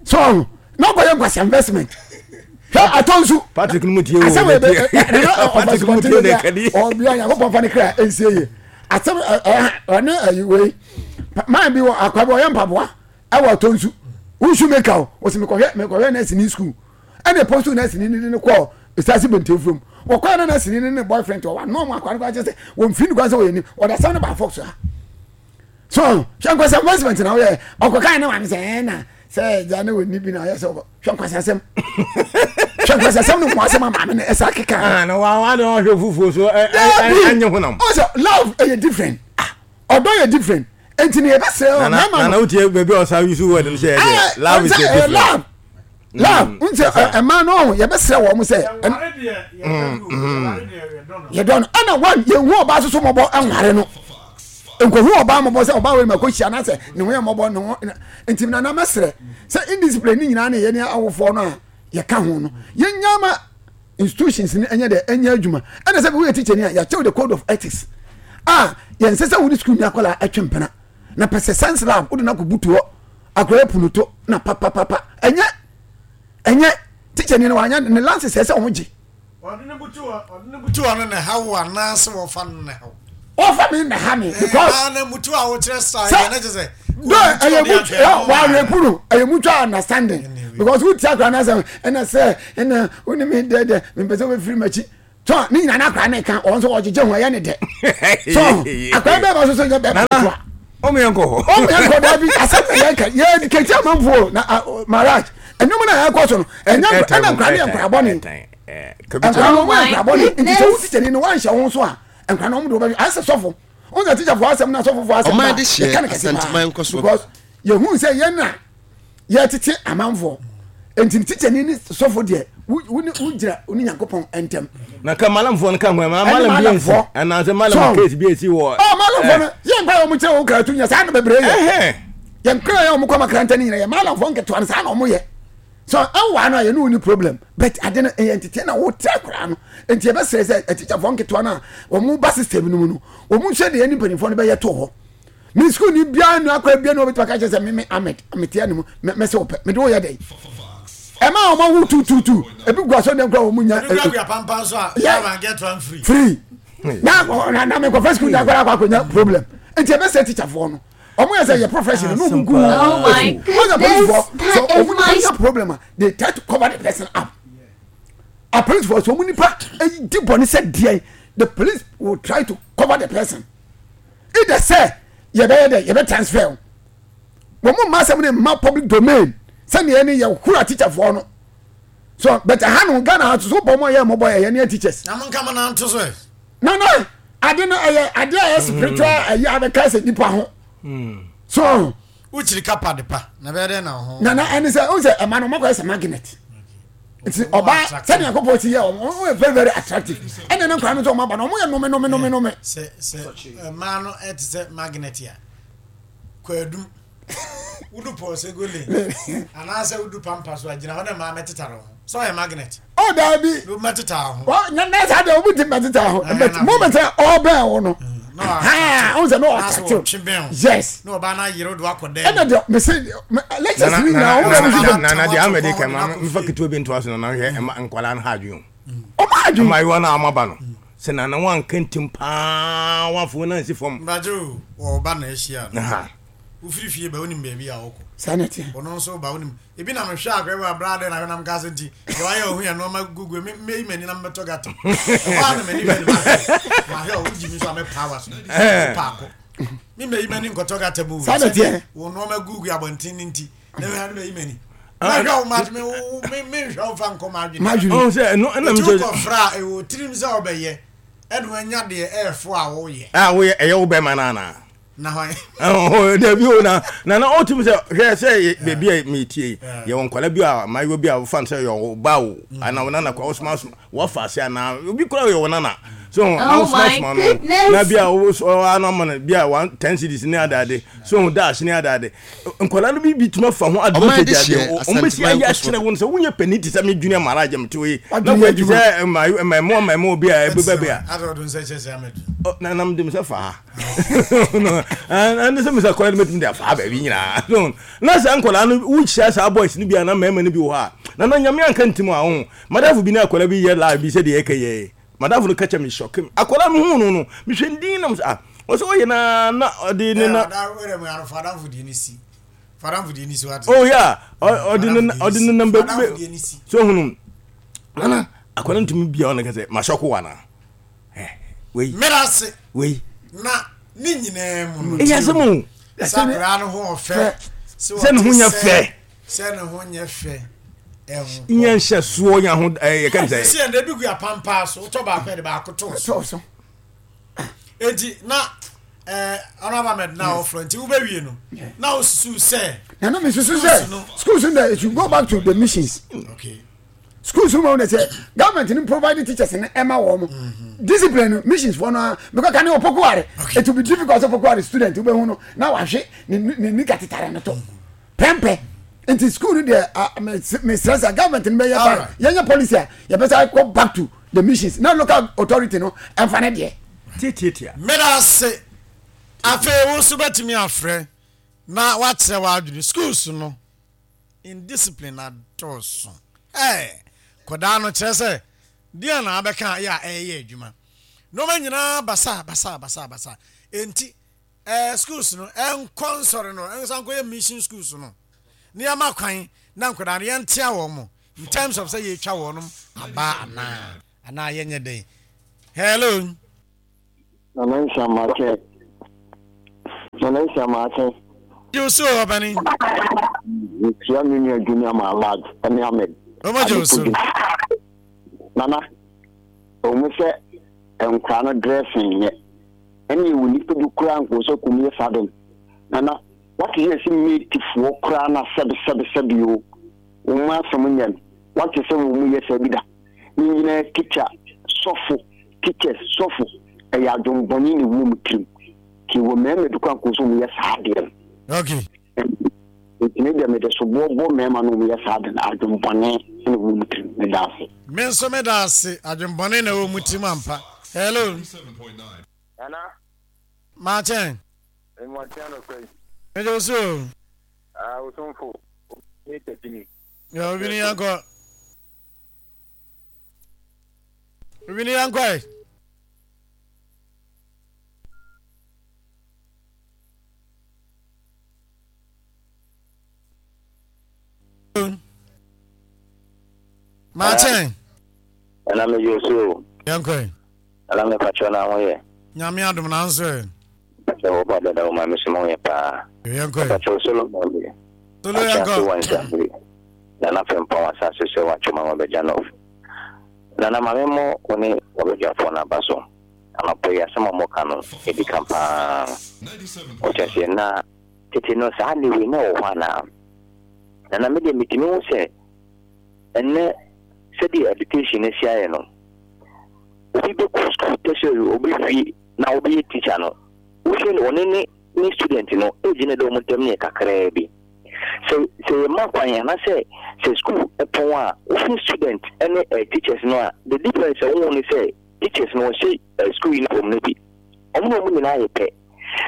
so na ɔkɔyɛ nkwasi investment hwɛ atɔ nsu Patrick no mu tie o asɛm ebe Patrick mu tie ne kadi ɔbia Nyankopɔn fa ne kra ɛnsie yie asɛm ɔne ayi wei man bi wɔ akwa bi ɔyɛ mpaboa ɛwɔ atɔ nsu wonsu meka o wɔsi mekɔhwɛ mekɔhwɛ nɛɛse ni sukuu ɛna ɛpɔ so nɛɛse ni ne ne kɔɔ esaase bɛntɛnfurom wɔkɔɛ na nɛɛse ni ne ne boyfriend wɔ ano ɔmo akwa no kɔ akyɛ sɛ wɔn fi ne kwan sɛ wɔyɛ ni wɔde asɛm no ba fɔk so ha so hwɛ nkwasi investment na wɔyɛ ɔkɔkan ne maame sɛ ɛna sɛ ɛgya ne wɔ ni bi na ɔyɛ sɛ hwɛ nkwasi asɛm hwɛ nkwasi asɛm ne mu asɛm a maame no ɛsa keka. Ah, na wa wa de ɔhwɛ fufuo so ɛ ɛ ɛnyɛ honam. ɔsɛ love ɛyɛ different ah ɔdɔ yɛ different nti ne yɛbɛsrɛ ɔ mɛma no. Nana wotie baabi a ɔsa use word no sɛ ɛyɛ love is a different. Love love n sɛ ɛmaa no ɔho yɛbɛsrɛ wɔn mo sɛ. Yɛdɔ no ɛna one yɛn hu ɔbaa soso mɔbɔ ɛnware no nkohu ɔbaa mɔbɔ sɛ ɔbaa wei ma kɔ hyia na sɛ ne ho yɛ mɔbɔ ne ho nti nana mɛsrɛ sɛ indiscipline ne nyinaa ne yɛne awofoɔ no a yɛka ho no yɛnya ma institutions no ɛnyɛ dɛ ɛnyɛ adwuma ɛna sɛ woyɛ teacher ni a yɛakyɛw the code of ethics a yɛnsɛ sɛ wode sukuu ni akwadaa ɛtwe mpena na pɛ sɛ science lab wode no akɔ butu hɔ akwadaa punu to na papapapa ɛnyɛ ɛnyɛ teacher ni no wanyɛ ne lances ɛsɛ wɔn gye. Ɔde ne butu hɔ ɔde ne butu hɔ no na ɛha wo anaasɛ wɔfa no na ɛha wo. Wɔfa mi na ha mi because. Ɛɛ na mutu a wokyerɛ saa yɛ ne kyerɛ sɛ. Do ɛyɛ mutu wɔawerɛ kunu ɛyɛ mutual understanding because wotia akora no asɛm ɛna sɛ ɛna wo ne me dɛdɛ mepɛ sɛ wobɛfiri m'akyi. So ne nyina na akora ne ka wɔn nso wɔgyegye ho ɛyɛ ne dɛ. So akora bɛɛ ba so so nyɛ bɛɛ ba so. Ɔmo yɛn kɔ hɔ. Ɔmo yɛn kɔ daabi asɛm na yɛn ka yɛ educate amanfoɔ na marriage ɛnum na yɛn kɔ so no ɛnyɛ ɛna nkora ne yɛ nkora bɔ ne nkora no ɔmo yɛ nkora bɔ ne nti sɛ wo tikyani no wanhyɛ ho so a nkora no ɔmo de wɔbɛhwɛ ayɛ sɛ sɔfo ɔmo sɛ tikyafoɔ asɛm na sɔfofoɔ asɛm ba yɛka ne kɛse paa because yɛhu sɛ yɛn na yɛtete amanfoɔ nti tikyani ne sɔfo deɛ wogyina wo ne nyankopɔn ntam na ka malamfoɔ no ka ho ma malam bi nsi anaasɛ malam case bi esi wɔ ɔ malamfoɔ no yɛn kwan a wɔn kyerɛ wɔn kra tu nyɛ saa na bebree yɛ yɛn kra yɛ wɔn kɔ makaranta ne nyina yɛ malamfoɔ nketewa no saa na wɔn yɛ so ɛwɔ ano a yɛne wo ni problem but ade no ɛyɛ ntete na wote akwaraa no nti yɛbɛsrɛ sɛ atikyafoɔ nketewa no a wɔn ba system no mu no wɔn nhwɛ deɛ ne mpanimfoɔ no bɛyɛ to hɔ me sukuu ni biara nu akora biara nu ɔbɛtumi aka kyerɛ sɛ me me Ahmed metea ne mu mɛsɛ wɔpɛ mede woyɛ dɛn ɛma wɔn awo tututu ebi gu asɔ dɛm kora wɔn nya free na na na mekɔfa sukuu da akora akɔ akɔnya problem nti ɛbɛsɛ tikyafoɔ no ɔmo yɛ sɛ yɛ profession no ɔmo gu ɔmo sɛ polisifoɔ sɛ ɔmo nipa nya problem a they try to cover the person up a polisifoɔ sɛ ɔmo nipa di bɔne sɛ deɛ the police will try to cover the person either sɛ yɛbɛyɛ dɛ yɛbɛ transfer o wɔn mo mma asɛm no mma public domain sɛdeɛ ɛne yɛ hura teacherfoɔ no so but ha no Ghana ha so bɔ mo yɛ mɔbɔ yɛ yɛ ne yɛ teachers. Na mo nka mo nan to so ɛ. Na na ade no ɛyɛ ade a ɛyɛ spiritual ɛyɛ abɛka sɛ nipa ho so. Wokyiri kapa de pa na bɛyɛ dɛ na ho. Na na ɛne sɛ o sɛ ɛma no ɔmo akɔyɛ sɛ magnet nti ɔbaa sɛdeɛ Nyankopɔn si yɛ ɔmo ɔmo yɛ very very attractive ɛna ne nkwadaa no nso ɔmo aba no ɔmo yɛ nome nome nome nome. Sɛ sɛ mmaa no ɛte sɛ magnet a kwaadum wodu pɔɔsego lane anaasɛ wodu pampa so a gyina hɔ na mmaa mɛtetare ho sɛ ɔyɛ magnet. Ɔ daabi. No mɛteta ho. Na na saa deɛ obi ti mɛteta ho but moment a ɔbɛn wo no. Ha ɔn sɛ na ɔattractive. Yes. Na ɔbaa na ayere do akɔ dɛm. Ɛna deɛ mese lectures ni nyinaa ɔmo na mo hwehwɛ. Nana deɛ ama de kɛ ma nfa ketewa bi ntoa so na na hwɛ ɛma nkwadaa no ha adwene o. Ɔmo adwene. Mmaayewa no a ɔmo aba no sɛ nana wanka ntim paa wafo na nsi fam. Mbagye o ɔba na ahyia no. Wofiri fie ba wonim baabi a ɔkɔ. Saa na ɛteɛ. Ɔno nso ba wonim Ebi na mehwɛ akɔyɛ wɔ abira adɛn na hwɛ nam kasa nti deɛ wayɛ ɔho yɛ nneɛma gugu me meyi m'ani na mebɛtɔ gata ɛhɔ a na m'ani hwɛ no mahwɛ mahwɛ ɔwo gyi mi so a mɛpa wa so paako me meyi m'ani nkɔtɔ gata mu sɛdeɛ wo nneɛma gugu abɔnten ne nti na mehwɛ no meyi m'ani mahwɛ wo ma me me menhwɛ wo fa nkɔ m'adwene ɔn sɛ ɛno ɛna mi sɛ kɔfra a ɛwɔ tirim sɛ ɔbɛyɛ ɛna wanya deɛ ɛɛfo a woyɛ a woyɛ ɛyɛ wo bɛma no anaa Na hwan? Dabi o na na na ɔtumi sɛ hwɛ sɛ beebi a metie yi yɛwɔ nkwadaa bi a mmaayewa bi a wɔfa no sɛ yɛ wo ba o mm. anaa wo nana kora wosoma soma wɔfa ase anaa obi kora yɛ wo nana so na oh wosoma soma no na bi a wosɔ ano ama no bi a one ten cities ne adaade so dash ne adaade nkwadaa no bi bi tuma fa ho advantage adeɛ wɔn bɛ si ayɛ akyerɛ wɔn sɛ wonyɛ panin te sɛ me junior mara agye me te yi na kɔ ti sɛ mmaamua mmaamua bi a ɛbɛba bi a na nam de mi sɛ fa ha ɛne sɛ mesɛ kɔɛ no mɛtumi de afa baabi nyinaa na saa nkɔlaa no wohyia saa boys no bi a na mmarima no bi wɔ hɔ a na na nyame anka ntim a wo madafo bi ne akɔlaa bi yɛ live bi sɛdeɛ ɛka yɛ madafo no ka kyɛ me hyɔke me akɔlaa me hu no no mehwɛ ndin nam sɛ ah ɔsɛ ɔyɛ na na ɔde ne na oh yeah ɔde ne ɔde ne nam baabi so hunu nana akɔlaa ntumi bia ɔno kɛ sɛ mahyɔko wa na wei. Meda ase. Wei. Na ne nyinaa mu no. Ɛyɛ asɛm o. Sɛ akwadaa no ho ɔfɛ. Sɛ ne ho nyɛ fɛ. Sɛ ne ho nyɛ fɛ. Nyɛ nhyɛ soɔ nya ho ɛyɛ kɛm sɛ. Sisi yɛn de ebi gu apampaa so wotɔ baako yɛ de baako to so. Eti na ɛɛ ɔnaba mɛd na ɔfrɛ nti wobɛwie no na wosusu sɛ. Na na mi susu sɛ schools no it should go back to the missions. Okay. Schools no ma wɔn sɛ government no provide teachers no ɛma wɔn mhm. discipline no missions fo no because kan opoku ware it will be difficult sɛ opoku ware student wobɛhu no na wahwe ne ne nika tetare no to pɛmpɛ nti school no deɛ mesrɛ sɛ government no bɛyɛ ba yɛnyɛ policy a yɛbɛsa kɔ back to the missions na local authority no ɛmfa ne deɛ. Tiatiatia. Meda ase. Afei wo nso bɛtumi afrɛ na woakyerɛ w'adwene. Schools no. Indiscipline adɔɔso eh Kɔdaa no kyerɛ sɛ deɛn na abɛka a yɛ a ɛyɛ adwuma Nnoɔma nyinaa basaa basaa basaa basaa Enti eh schools no ɛnkɔ nsɔre no ɛnsan nkɔyɛ mission schools no na yɛma kwan na nkɔdaa no yɛntea wɔn mo in terms of sɛ yɛtwa wɔnom abaa anaa anaa yɛnyɛ dɛn. Hello. Nana Nsia Maakye. Nana Nsia Maakye. Gye wo so ɔbani. Mekyia me nua Junior Malad ne Ahmed. Ɔmo gye wo so. Nana, ɔmo sɛ nkora no dressing nyɛ. Ɛne ɛwɔ nipa bi koraa nkɔ sɛ kɔm yɛ saa den. Nana, wate sɛ yɛsi matefoɔ koraa na sɛbe sɛbe sɛbe o. Wɔn asɛm nyɛ no. Wate sɛ wɔn yɛ saa bi da. Ne nyinaa teacher, sɔfo, teachers, sɔfo, ɛyɛ adwembɔne na ɛwɔ wɔn tirim. Nti wɔ mmarima bi kora nko sɛ wɔyɛ saa adeɛ no. Okay. Nti me deɛ mede soboɔ bɔ mmarima no wɔyɛ saa ade no adwembɔne na ɛwɔ wɔn tirim. Meda ase. Me nso meda ase adwembɔne na ɛwɔ wɔn tirim ampa. Hello. Nana. Maakyɛn. Mmɔnten anɔpa yi. Mede wo so o. Ah, osomfo. Ne tatini. Yɛ obi ni yankɔ. Obi ni yankɔ ɛ. Maakyɛn. Ɛna me yɛ osu o. Yɛnkɔ ɛ. Ɛna me patrɔ na ho yɛ. Nyame adom na nso ɛ. Patrɔ wɔ ba dada wo ma me so mo yɛ paa. Yɛnkɔ ɛ. Patrɔ Solomon bi. Solo yɛnkɔ. Akyɛ wɔ nsambiri. Nana Frimpong asase so wɔ Atwoma wɔ Bɛgya North. Nana ma me mmɔ wo ne w'abadwafoɔ no aba so. Anɔpa yi asɛm a wɔka no ɛdi kan paa. Wote aseɛ na tete no saa ade wei na ɛwɔ hɔ anaa? Nana me deɛ metumi hu sɛ ɛnnɛ sɛdeɛ education no asi ayɛ no obi bɛkɔ school tertiary ɔbɛwie na ɔbɛyɛ teacher no wohwɛ no ɔne ne ne student no age no da wɔn ntam no yɛ kakraa bi. Sɛ sɛ yɛma kwan anaasɛ sɛ school pɔn a wohwɛ student ne eh, teachers no a the difference a wohu ne sɛ teachers no wɔhyɛ eh, school uniform no bi. Wɔn ne wɔn nyinaa yɛ pɛ.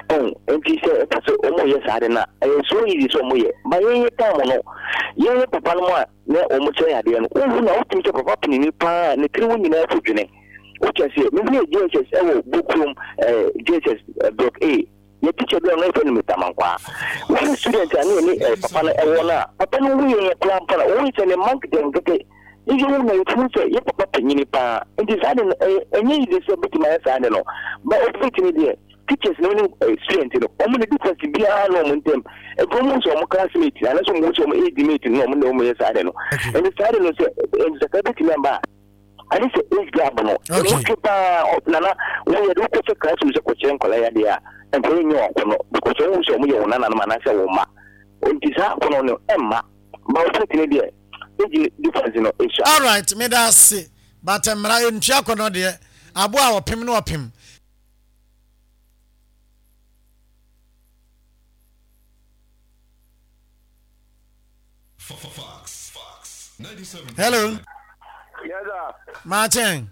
Ɛho nti sɛ ɛka sɛ wɔn yɛ saa de no a ɛyɛ so easy sɛ wɔn yɛ. Ba yɛn yɛ time no yɛn yɛ papa no mu a na wɔn kyerɛ yɛ adeɛ no wohu na wotumi sɛ papa panini paa ne tiri ho nyinaa fu dwene. Wote aseɛ? Mehunuu JHS ɛwɔ Bokurom eh, JHS eh, block A. Yɛ teacher bi a ɔno yɛfrɛ no Mr. Mankwaa. Wohwɛ student a ne yɛne eh, papa no ɛwɔ no a, papa no hu yɛn koraa mpo na wohu sɛ ne mma nketenkete. Ne yɛ hu na yɛtumi sɛ yɛ papa panyini paa. Nti saa de no ɛyɛ ɛnyɛ easy sɛ obetumi ayɛ saa de no. Ba obetumi deɛ teachers no ne eh, student no wɔn ne difference biara na wɔn ntam. Ebi wɔn hu sɛ wɔn classmate anaasɛ wɔn hu sɛ wɔn age mate no na wɔn na wɔn yɛ saa de no. Nti saa de no sɛ nsakra betumi aba a. Ade sɛ age gap no ɛmu twe paa nana wo yɛ de wokɔ sɛ classroom sɛ kɔkyerɛ nkwadaa yi adeɛ a nkwadaa yi nyɛ wɔn akɔnɔ because wɔn hu sɛ wɔn yɛ wɔn nananom anaasɛ wɔn mma nti saa akɔnɔ no ɛmma ba wo pɛt no deɛ age difference no esua. Alright meda ase but mmara ntua akɔnɔ deɛ aboa a ɔpem no ɔpem. Hello. Yes, sir. Martin.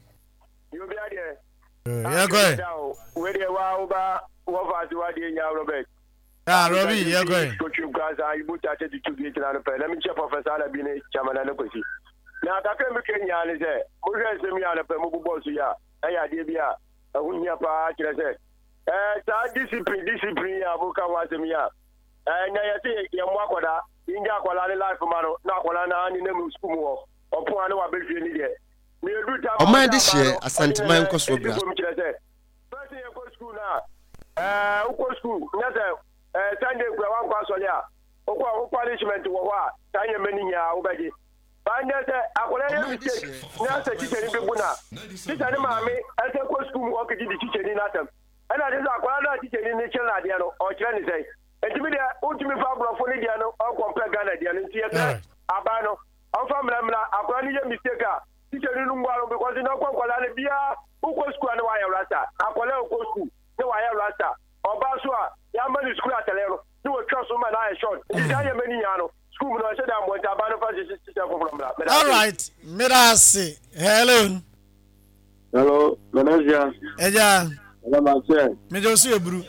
You be there. Yeah, go ahead. Where they were over, what was you are doing, Robert? Ah, Robbie, yeah, go ahead. Coach, you guys are you put at the 2 gate and let me check Professor Alabine, Chairman and Kwesi. Now, kakra mi kɛ nyaa ne sɛ mohwɛ nsɛm yi anɔpɛ mu bobɔ so yi a ɛyɛ adeɛ bi a ɛho hia paa kyerɛ sɛ ɛɛ saa discipline discipline yi a moka ho asɛm yi a ɛɛ na yɛse yɛmmɔ akwadaa Yɛngya akwadaa ne life ma no na akwadaa no ara nenam sukuu mu hɔ. Ɔpon a na wabɛhwie ne deɛ. Na yɛduru time a Ɔman ɔsɛ abaa dehyeɛ, no, ɔne Asanteman yɛn nkɔsoɔ ɛdi bra. fam kyerɛ sɛ first yɛkɔ sukuu no a ɛɛ wokɔ sukuu nyɛ sɛ ɛɛ Sunday kura wankɔ asɔre a wokɔ a wo punishment wɔ hɔ a saa nneɛma no nyinaa wobɛgye. Baa nyɛ sɛ akwadaa yɛ Ɔman mistake dehyeɛ, na sɛ Asanteman tikyani bi nkɔsoɔ bu bra no a so. tikya ne maame ɛsɛ kɔ sukuu mu ɔkɛgye di tikyani no asɛm. Ɛna kyerɛ sɛ akwadaa no a tikyani no kyerɛ no adeɛ no ɔkyerɛ ne sɛn. Nti me deɛ wontumi fa aborɔfo no deɛ no ɔnkɔmpɛ Ghana deɛ no nti yɛsrɛ aban no ɔmfa mmra mmra akwadaa no yɛ mistake a teacher no no mmua no because na ɔkɔ nkwadaa no biara wokɔ school a na wayɛ rasta akwadaa ɔkɔ school na wayɛ rasta ɔbaa so a yɛama no school atɛlɛ no na wɔtwa so ma no ayɛ short nti saa nneɛma no nyinaa no school mu no ɔhyɛ da mmoa nti aban no fa hyehyɛ foforɔ mmra. Meda ase. Alright, meda ase. Hello. Hello, Nana Zia. Ẹja. Nana Makyɛ. Mejɛ osu eburu.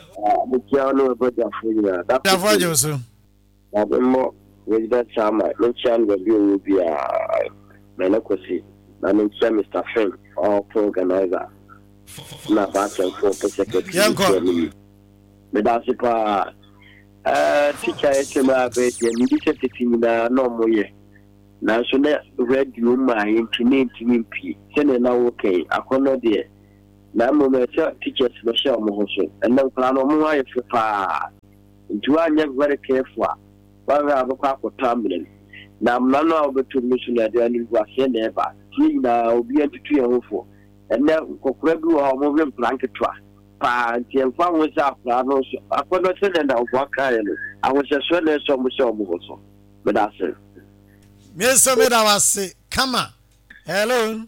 Mekyia wo ne w'abagyafo nyinaa. Gyafo agye wo so. Na memmɔ resident chairman, menkyia no baabi a ɔwɔ biara, Nana Kwasi, na menkyia Mr. Finn, ɔpo organizer, na Baakyɛmfoɔ pɛ secretary, menkyia no yi. Meda ase paa. Ɛɛ, teacher yɛ kyɛm a afei deɛ, mebi sɛ tete nyinaa na ɔmo yɛ. Nanso na radio mmaeɛ nti na ɛntumi mpue. Sɛdeɛ na woreka yi, akɔnnɔ deɛ, Na mmom ɛsɛ sɛ teachers no hyɛ wɔn ho so. Ɛnnɛ nkwadaa no wɔn ho ayɛ fɛ paa. Nti woanyɛ very careful a, woanhwɛ a wobɛkɔ akɔtɔ amena mu. Na amena no a wobɛtɔ mu no nso no ɛde animguaseɛ na ɛba. Nti yɛn nyinaa obiara ntutu yɛn ho fo. Ɛnnɛ nkɔkora bi wɔ hɔ a wɔwe nkwadaa nketewa paa. Nti ɛmfa ho sɛ akwadaa no nso akɔnnɔ sɛdeɛ Nnamfoa kaeɛ no, ahohyɛsoɔ na ɛsɛ sɛ wɔhyɛ wɔn ho so. Meda ase. Me nso meda wo ase kama. Hello.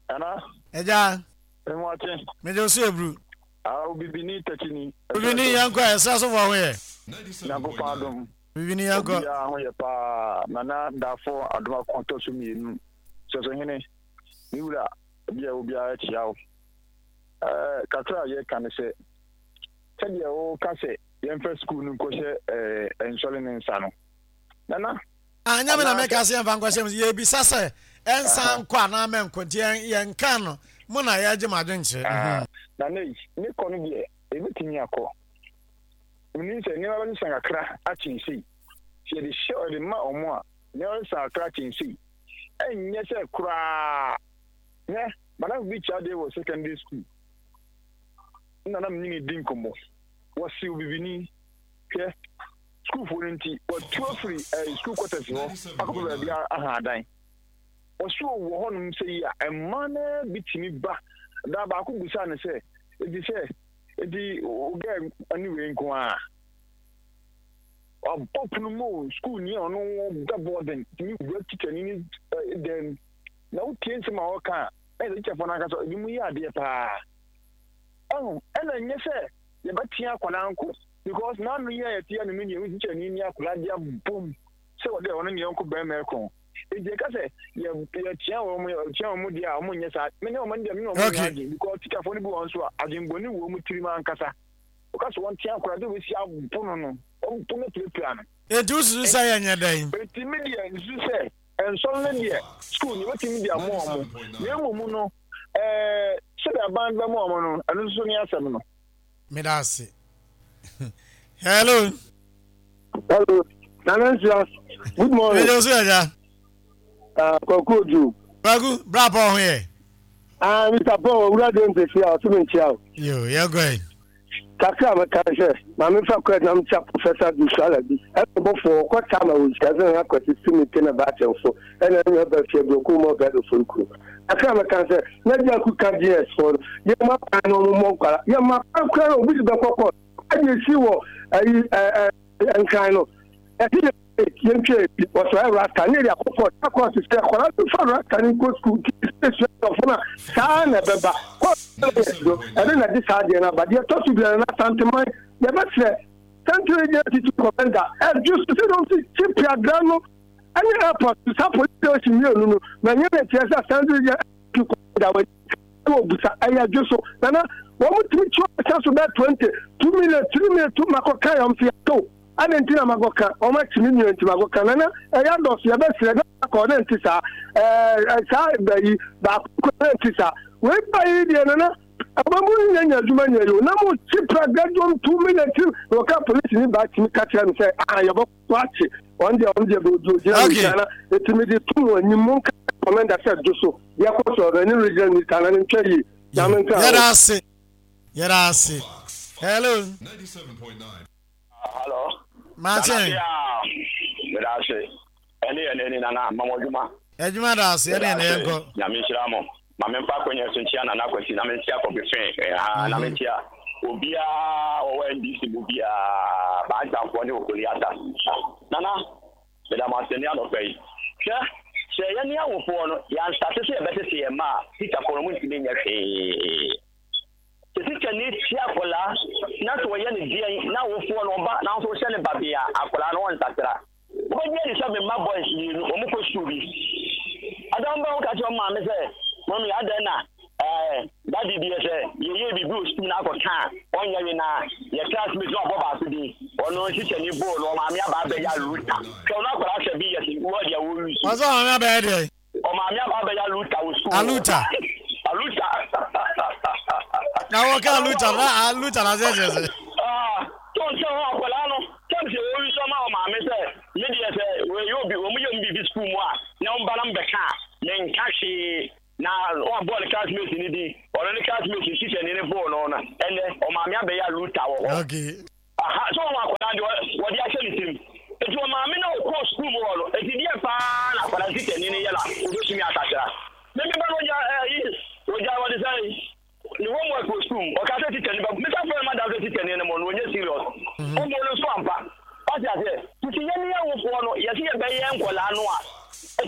Nana. Agya. Mmoakye. Megye wo so eburu. Ah, obibini takyini. Obibini yɛnkɔ ɛ, ɛsrɛ so fo ho yɛ. Nyankopɔn adom. Obibini yɛnkɔ. Obiara ho yɛ paa. Nana Dafo Adomako tɔ so mmienu. Sɛsohene, me wura, baabi a obiara kyia wo. Ɛɛ, kakra a yɛka ne sɛ, sɛdeɛ woka sɛ yɛmfa sukuu no nkɔhyɛ ɛɛ nsɔre ne nsa no. Nana, Anyɛ me na meka sɛ yɛmfa nkɔhyɛ mu. Yɛbisa sɛ ɛnsan nkɔ anaa mɛnkɔ nti yɛnka no mo na yɛgye mo adwenkyerɛ. Ah, Nana yi, ne kɔ no deɛ ɛbɛtumi akɔ. Menim sɛ nneɛma bɛsesa kakra akyɛn sei. Sɛ yɛde hyɛ yɛde ma wɔn a, nneɛma bɛsesa kakra akyɛn sei. Ɛnyɛ sɛ koraa. Hwɛ, madamfo bi kyerɛ adeɛ wɔ secondary school. Nna na menye no di nkɔmmɔ. Wɔse obibini. Hwɛ, sukuufoɔ no nti, wɔatu afiri eh, sukuu quarters hɔ akɔpɛ baabi aha adan. Wɔso wɔ hɔnom sɛ yi a, mmaa no bi tumi ba. Da baako busaa no sɛ, enti sɛ, enti wo gɛ ne wei nko ara? Wabɔ pono mu o, sukuuni a ɔno da boarding tumi wura tikyani ne eh, dan mu. Na wotie nsɛm a ɔka a, na yɛ sɛ tikyafoɔ no ankasa ebinom yɛ adeɛ paa. Ɛho, ɛna nyɛ sɛ yɛbɛtea akwadaa nko because n'ano yi a yɛte ano no deɛ wosi kyɛ ne ni akwadaa de abom sɛ wɔde ɔno ne yɔnko bɛrima ɛko nti yɛka sɛ yɛ yɛtea wɔn yɛtea wɔn deɛ a wɔn nyɛ saa me ne wɔn deɛ me ne wɔn nyɛ adwene because tikyafoɔ no bi wɔn nso a adwenbɔne wɔ wɔn tirim ankasa wɔka sɛ wɔn tea akwadaa de wɔsi abo no no wɔn po no pirapira no. Enti wosusu sɛ yɛnyɛ dɛn? Enti me deɛ nsusu sɛ nsɔre no deɛ sukuu no yɛbɛtumi de ama wɔn na mmom no ɛɛ sɛdeɛ aban bɛma wɔn no ɛno nso ne asɛm no. Meda ase. Hello. Hello. Nana Nsia. Good morning. Ɛyɛ so ɛya. Ah, Kwaku Oju. Kwaku, bra Paul ho yɛ. Ah, Mr. Paul, owura de ntesi a ɔso me nkyia o. Yo, yɛ gɔ yi. Kakra a meka ne sɛ, ma memfa kɔ na mekyia Professor Dusuala bi. Ɛna ɔbɔfoɔ ɔkɔ taa ma wɔnhyia sɛ Nana Kwasi Sumi te na Baakyɛmfo ɛna ne nua ba fie aburokuru mu ɔbɛ Ofori kuro. Kakra a meka ne sɛ, na Diaku ka GS foɔ no, yɛmma kwan na wɔn mmɔ nkwara. Yɛmma kwan koraa na obi de bɛkɔ kɔɔt. Ɛna esi wɔ ayi ɛɛ Nkran no, yɛse yɛ yɛntwa ebi, wɔsɛ ɔyɛ rasta ne yɛde akɔ court, na court sɛ akwadaa no fa rasta no nkɔ sukuu nti sɛ sua nkurɔfo no a saa na ɛbɛba. Court no yɛ do, ɛno na ɛde saa adeɛ no aba. Deɛ ɛtɔ so biara no, Asanteman, yɛbɛsrɛ Central Regional Teaching Commander, ɛdwo so sɛ wɔn si kyi piadra no ɛne airport saa police station mmienu no, na nyɛ na ɛkyerɛ sɛ Asante Regional Teaching Commander wɔ wɔ busa ɛyɛ dwo so nana wɔn tumi kyi wɔn sa so bɛɛ 22 million 3 million tu makɔ ka yɛn fi ato ɛna nti na makɔ ka wɔn akyi mi nua nti makɔ ka nana ɛyɛ adɔso yɛ bɛ srɛ na akɔ na nti saa ɛɛ saa bɛyi baako kɔ na nti saa wei ba yi deɛ nana ɛbɛn mu nyɛ nyɛ adwuma nyɛ yi o na mo kyi pra gadwom 2 million 3 na wɔka polisi ni ba tumi ka kyerɛ mi sɛ ah yɛbɔ wakye wɔn deɛ wɔn deɛ bɛ odi ogyina ne nkyɛn na eti mi de tum wɔn anim mo nka kɔmɛnda sɛ do so deɛ kɔ so ɔno ɛne regional minister na ne ntwa yie nyame nka ho. Yɛda ase yɛda ase hello. Hello. Martin. Yɛda ase ɛne yɛn ani nana mama adwuma. Adwuma da ase ɛne yɛn yɛn kɔ. Nyame nhyira mo. Ma memfa akwanya so nkyia Nana Kwasi na menkyia Kofi Fee ha na menkyia obiara ɔwɔ NDC mu biara, Baagyanfoɔ ne Okoli Ata. Nana, meda mo ase ne anɔpa yi. Hwɛ, sɛ yɛne awofoɔ no yɛanstate sɛ yɛbɛtete yɛn mma a, tikyafoɔ no wɔntumi nyɛ hwee. Sɛ tikyani tia akwadaa na sɛ ɔyɛ no deɛn na awofoɔ no ɔba nanso wohyɛ no babee a, akwadaa no ɔnsakyera. Wobɛgye adi sɛ me mma boys mmienu, wɔn kɔ sukuu bi. Ada wɔn ba ka kyerɛ wɔn maame sɛ, Mɔmi, adɛn na ɛɛ dadi deɛ sɛ yɛyɛ biribi wɔ sukuu na akɔka a, ɔnyɛ we na yɛ classmate na ɔbɔ baako din. Ɔno tikyani boo no, ɔmaame aba abɛyɛ aluta. Hwɛ ɔno akwadaa sɛ bi yɛ sɛ wɔ deɛ wɔyi so. Ɔsɛ ɔmaame abɛyɛ deɛ? Ɔmaame aba abɛyɛ aluta wɔ sukuu. Aluta. Aluta. Na wɔka aluta na aluta na sɛ kyerɛ sɛ. Ah, tó n sɛ hɔ akwadaa no sɛm sɛ wɔyi sɔ ma ɔmaame sɛ me deɛ sɛ wɔyɛ obi wɔn yɛ mu biribi sukuu mu a na wɔn ba na mbɛka a menka hwee na wɔabɔ ne classmate ne din ɔno ne classmate teacher ne. hɔ. Okay. Aha, sɛ wɔn akwadaa deɛ wɔde ahyɛ ne tirim. Eti wɔn maame na ɔkɔɔ sukuu mu hɔ no, eti deɛ paa na akwadaa tikyani no yɛ na obetumi asakyera. Me me ba no ogya ɛyi, ogya wɔde sɛ ne homework wɔ sukuu mu, ɔka sɛ tikyani ba, mesa frɛ no madam sɛ tikyani no mo no ɔnyɛ serious. Ɔmo no nso ampa. Wate aseɛ? Nti yɛn ne awofoɔ no, yɛse yɛbɛyɛ nkwadaa no a,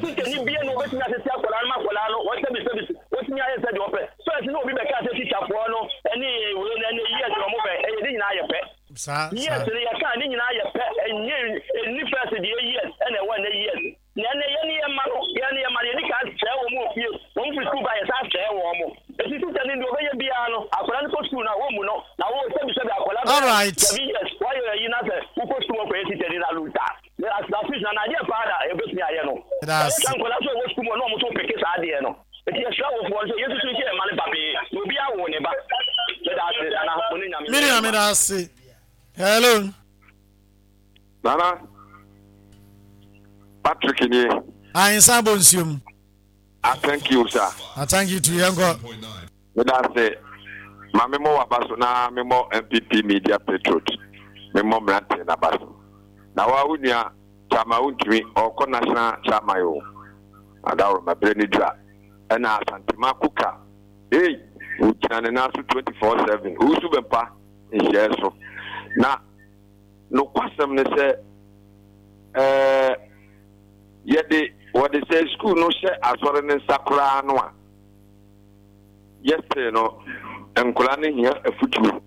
tikyani bia na obetumi atete akwadaa no ma akwadaa no, wɔsɛbisɛbi, wɔtumi ayɛ sɛdeɛ ɔpɛ. First na obi bɛka sɛ tikyafoɔ no ɛne wei no ɛne years na ɔmo bɛ, ɛyɛ ne nyinaa yɛ pɛ. Saa, Years saa. no yɛka ne nyinaa yɛ pɛ, ɛnyɛ ɛnni first deɛ years ɛna ɛwɔ ɛnɛ years. Na ɛnɛ yɛn ne yɛn mma no, yɛn ne yɛn mma no, yɛdi kan sɛe wɔn wɔ fie. Wɔn firi sukuu ba a, yɛsan sɛe wɔn. Enti tikyani deɛ ɔbɛyɛ biara no, akwadaa no kɔ sukuu no a, wɔmmu no. Na wo, sɛbisɛbi, akwadaa bɛyɛ Alright. 7 years, woayɛ ayi na sɛ wokɔ sukuu mu akɔyɛ tikyani na luta. Na at least na adeɛ paa na yɛbɛtumi ayɛ no. Meda Ɛyɛ ase. saa nkwadaa nso a ɛwɔ sukuu mu a na wɔn nso peke saa adeɛ no. Enti yɛsrɛ awofoɔ no sɛ yɛnsusu nhyɛ yɛn mma no babee na obiara woo ne ba. Meda ase, Nana, mo ne Nyame Me nyɛ nua adwuma. meda ase. Hello. Nana, Patrick nie. Ahensa bɔ nsuo mu. I thank you sir. I thank you too. Yɛn kɔ. Meda ase. Ma me mmɔ w'aba so na me mmɔ NPP media patriot. Me mmɔ mmeranteɛ n'aba so. Na wa wo nua Chairman wontumi ɔkɔ national chairman o. Adaworo ma bere ne dura. Ɛna Asantema Kuka. Hey, wogyina ne nan so 24/7. Owusu bɛmpa nhyiaɛ so. Na Nokwasɛm ne sɛ, ɛɛ, yɛde wɔde sɛ sukuu no hyɛ asɔre no nsa koraa no a, yɛsee no nkwadaa no hia afutuo.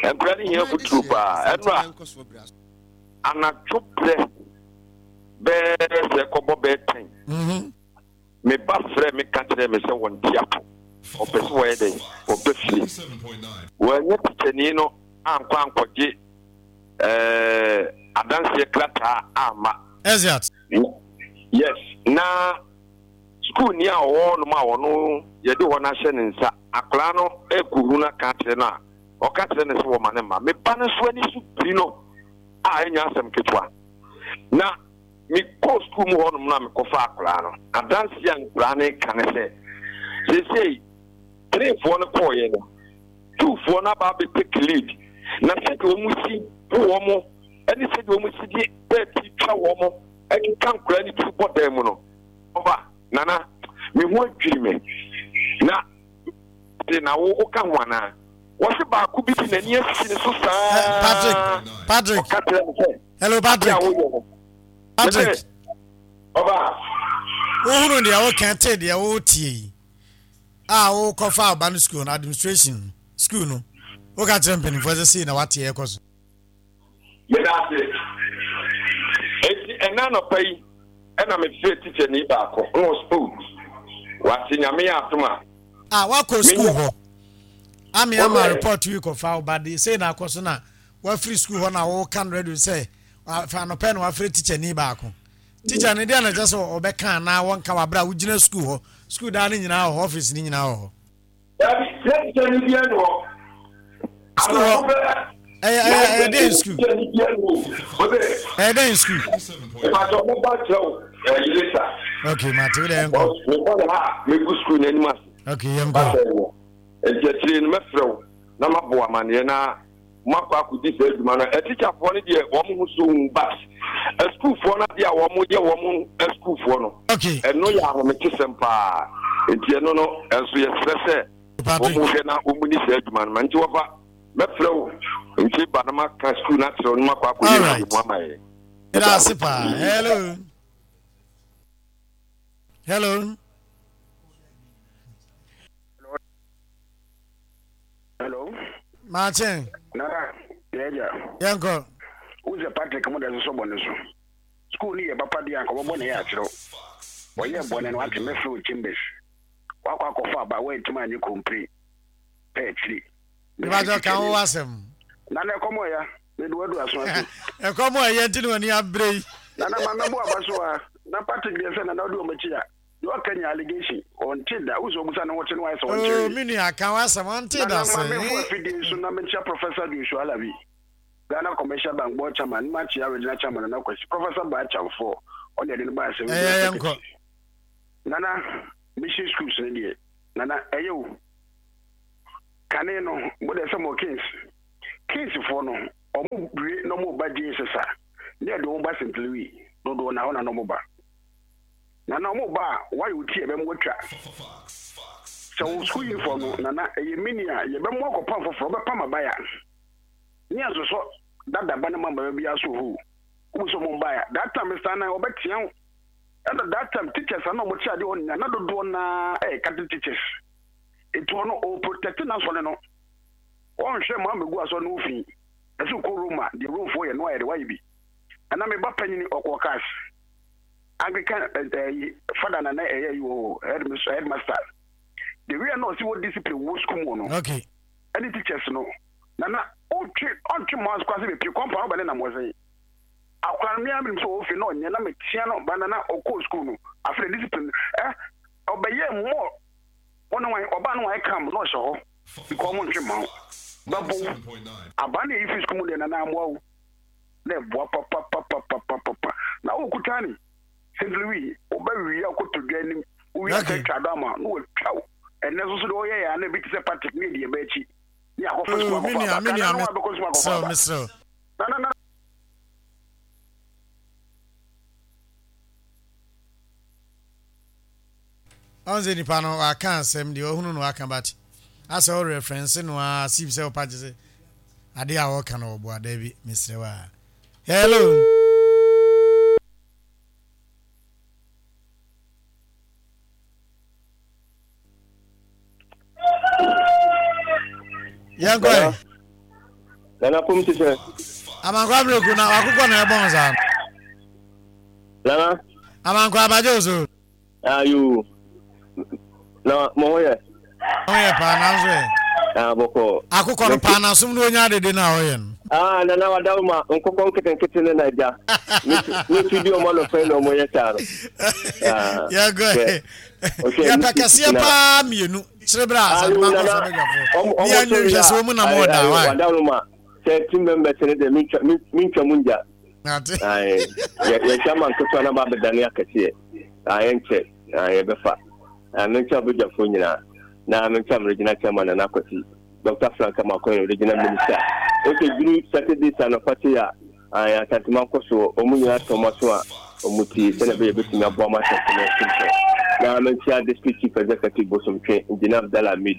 Nkwadaa no hia afutuo paa. Ɛno a, anadwo berɛ bɛɛ sɛ kɔbɔ bɛɛ tɛn. Mm-hmm. Me ba frɛɛ me ka kyerɛɛ me sɛ wɔnte apo, ɔpɛ sɛ wɔyɛ dɛn? Ɔba fie. Wannya tikyani no ankɔ ankɔgye eh, adanseɛ krataa amma. Exeat. Yes, na sukuuni a ɔwɔ hɔnom a ɔno yɛde hɔ no ahyɛ ne nsa, akwadaa no rekɔhu no aka akyerɛ no a, ɔka kyerɛ no sɛ wɔma no mma. Me ba no nso ani so biri no a ɛnyɛ asɛm ketewa. Na Mekɔɔ sukuu mu hɔnom no a mekɔfaa akwadaa no, adanseɛ a nkwadaa no reka ne sɛ, seesei Tereefoɔ no kɔeɛ no, Jewfoɔ no aba abɛ take lead, na sɛdeɛ wɔn si bu wɔn ne sɛdeɛ wɔn si de bɛɛti twa wɔn keka nkwadaa no tiri bɔ dan mu no, ɔba, Nana, me ho adwiri me. Na de na wo woka ho anaa? Wɔse baako bi de n'ani asi ne so saa. Patrick, Patrick. Ɔka kyerɛ me sɛ. Hello Patrick. Patrick. Ɔba. Wohunu deɛ woka te deɛ wotie yi a wokɔfa ɔba no school no administration school no woka kyerɛ mpanimfoɔ sɛ sei na wate ɛkɔ so. Meda ase. Enti ɛna anɔpa yi ɛna mefrɛ tikyani baako na ɔsɛ oh wate nyame yɛ atom a. A wakɔ school hɔ ame ama report yi kɔfa ɔba de sei na akɔ so na wafiri sukuu hɔ na woka no radio sɛ fa anɔpɛ na wafrɛ tikyani baako tikya no deɛ na kyɛ sɛ ɔbɛka anaa wɔnka wɔ aberɛ a wogyina sukuu hɔ sukuu daa no nyinaa wɔ hɔ ɔfis no nyinaa wɔ hɔ Dabi, na tikyani biara ni hɔ. Sukuu hɔ ɛyɛ ɛyɛ ɛyɛ dɛn sukuu ɛyɛ dɛn sukuu. Ìbàdàn mo bá kyerɛ o ɛyi leta. Ok, mate wo dɛ yɛn kɔ. Mekɔ ne ha megu sukuu n'anim ase. Ok, yɛn kɔ. Nti akyire no mɛfrɛ wo na mabɔ amaneɛ na moakɔ akɔdi saa adwuma no. Atikyafoɔ no deɛ wɔn ho so hu but asukuufoɔ no adeɛ a wɔn yɛ wɔn asukuufoɔ no ɛno yɛ ahometesɛm paa nti ɛno no ɛnso yɛsrɛ sɛ wɔn hwɛ na wɔn ni saa adwuma no ma nti wɔfa mɛfrɛ wo nti ba na maka sukuu no akyerɛ wo na makɔ akɔyɛ nhwehwɛmu ama yɛn. Meda ase paa. Hello. Hello. Hello. Maakye. Nana, yɛagya. Yɛnkɔ. Wo sɛ Patrick mo da sosɔ bɔne so. School no yɛ papa deɛ anka ɔbɛbɔ ne yɛ akyerɛw. Ɔyɛɛ bɔne no wate mɛfrɛ wo chambers. Wakɔ akɔfa aba woantumi anyɛ kompire pɛ akyiri. Mebakyɛ ka wo asɛm. Nana ɛkɔm ɔya. Mede wadu aso ase. Ɛkɔm ɔyɛ nti na w'ani abere yi. Nana ma mɛbɔ aba so a. Na Patrick deɛ sɛ nana wodi wɔn akyi a. Deɛ ɔka nyɛ allegation ɔnte da wosi ɔbusa ne ho te no ayɛ sɛ ɔnte Oh me nua ka w'asɛm ɔnte da sɛ. Nana ma menfo afidie so na menkyia Professor Joshua Alabi Ghana Commercial Bank Board Chairman ne makyia Regional Chairman Nana Kwasi Professor Baa Kyamfoɔ ɔne ɛde no baa sɛ Regional Secretary Nana Mission Schools no deɛ Nana ɛyɛ o. Kane no, mo deɛ sɛ mo Kings, Kings foɔ no, ɔmo wie na ɔmo ba JSS a, ne yɛde ɔmo ba St. Louis, dodoɔ na hɔ na na ɔmo ba. Na na ɔmo ba a, wayɛ wo ti a ɛbɛmo atwa. Sɛ wo school uniform no, nana, ɛyɛ mini a, yɛbɛmo akɔpam foforɔ, wobɛpam abaya. Ne yɛnsosɔ dada ba no ma mmara biara so hoo. Wobu sɛ ɔmo mbaeɛ a, that time Mister Anan ɔbɛtea wo. Ɛna that time teachers a na ɔmo te adeɛ hɔ nyinaa, na dodoɔ naa ɛyɛ Catholic teachers. Nti ɔno ɔ protect n'asɔre no. Ɔnhwɛ ma mmegu asɔre no ho fi. Ɛsɛ wokɔ Rome a, deɛ Romefoɔ yɛ no ayɛ de wayɛ bi. Ɛna me ba panyini ɔkɔɔ cars. Anglican ɛyi fada na na ɛyɛ yi wɔ hɔ, headmaster. The way a na ɔsi wɔ discipline wɔ school mu no. Okay. Ɛne teachers no. Na na ɔtwe ɔntwe mo aso ase bepie compound ɔbɛ ne nam ɔsɛn. Akora no me ara menim sɛ ɔwɔ fie na ɔnyɛ na metea no ba na na ɔkɔɔ school no. Afei na discipline eh ɔbɛyɛ more Wo ne wan? Ɔbaa no wayɛ calm na ɔhyɛ hɔ because ɔmo ntwe mma wo. Bɛbo wo. Abaa no a eyi fi sukuu mu deɛ nana amoa wo. Na ɛboa papapapapapapa. Na wo kuta ni St. Louis wo bɛ wia kɔtɔ dwa anim wo wia sɛ twa dɔ ama na watwa wo. Ɛnɛ nso so deɛ ɔyɛ yɛ a na ebi te sɛ Patrick ne yɛde yɛba akyi ne akɔfa sukuu Oh, me akɔfa nua, aba. me Ka nua, na na wabɛkɔ sukuu akɔfa mesrɛ wo, aba. mesrɛ wo. Na na na. Ɔn sɛ nipa no waka asɛm deɛ ɔhunu no waka but asɛ wo reference no ara as if sɛ wopa gye sɛ adeɛ a ɔka no ɔboa daabi mesrɛ wo a hello. Yɛnkɔ ɛ. Nana pom te sɛ. Amankwa abreku na wakokɔ na ɛbɔn saa. Nana. Amankwa abagye o so. Ayo. Na mo ho yɛ. Ho yɛ paa nanso ɛ. Ah bɔkɔ. Akokɔ no paa n'asom no onya dede na ɔyɛ no. Ah nana wada wo ma nkokɔ nketenkete ne na agya. Ne tu di ɔmo anɔpɛ na ɔmo yɛ saa no. Ah. Yɛnkɔ ɛ. Yɛpɛ kɛseɛ paa mmienu. Kyerɛ berɛ a asante ma nkɔsɔ bɛdwafoɔ. Ne yɛn nhwɛ sɛ wɔn nam ɔda wa. Wada wo ma sɛ team members ne deɛ mentwa mu ngya. Yɛhwɛ ama nketewa no aba abɛdane akɛseɛ. Yɛnkyɛ yɛbɛfa. Menkyɛ abadwafoɔ nyinaa na menkyɛ me regional chairman Nana Kwasi, Dr. Frank Amoakohene, regional minister. Ose duru Saturday sa anɔpa sei a, Asantema nkɔsoɔ, wɔn nyinaa tɔ wɔn aso a wɔn tie sɛdeɛ ɛbɛyɛ yɛbɛtumi aboa ma Asantema nso mpɔn. Na menkyea District Chief Executive Bosomtwe, Engineer Abdallah Ahmed.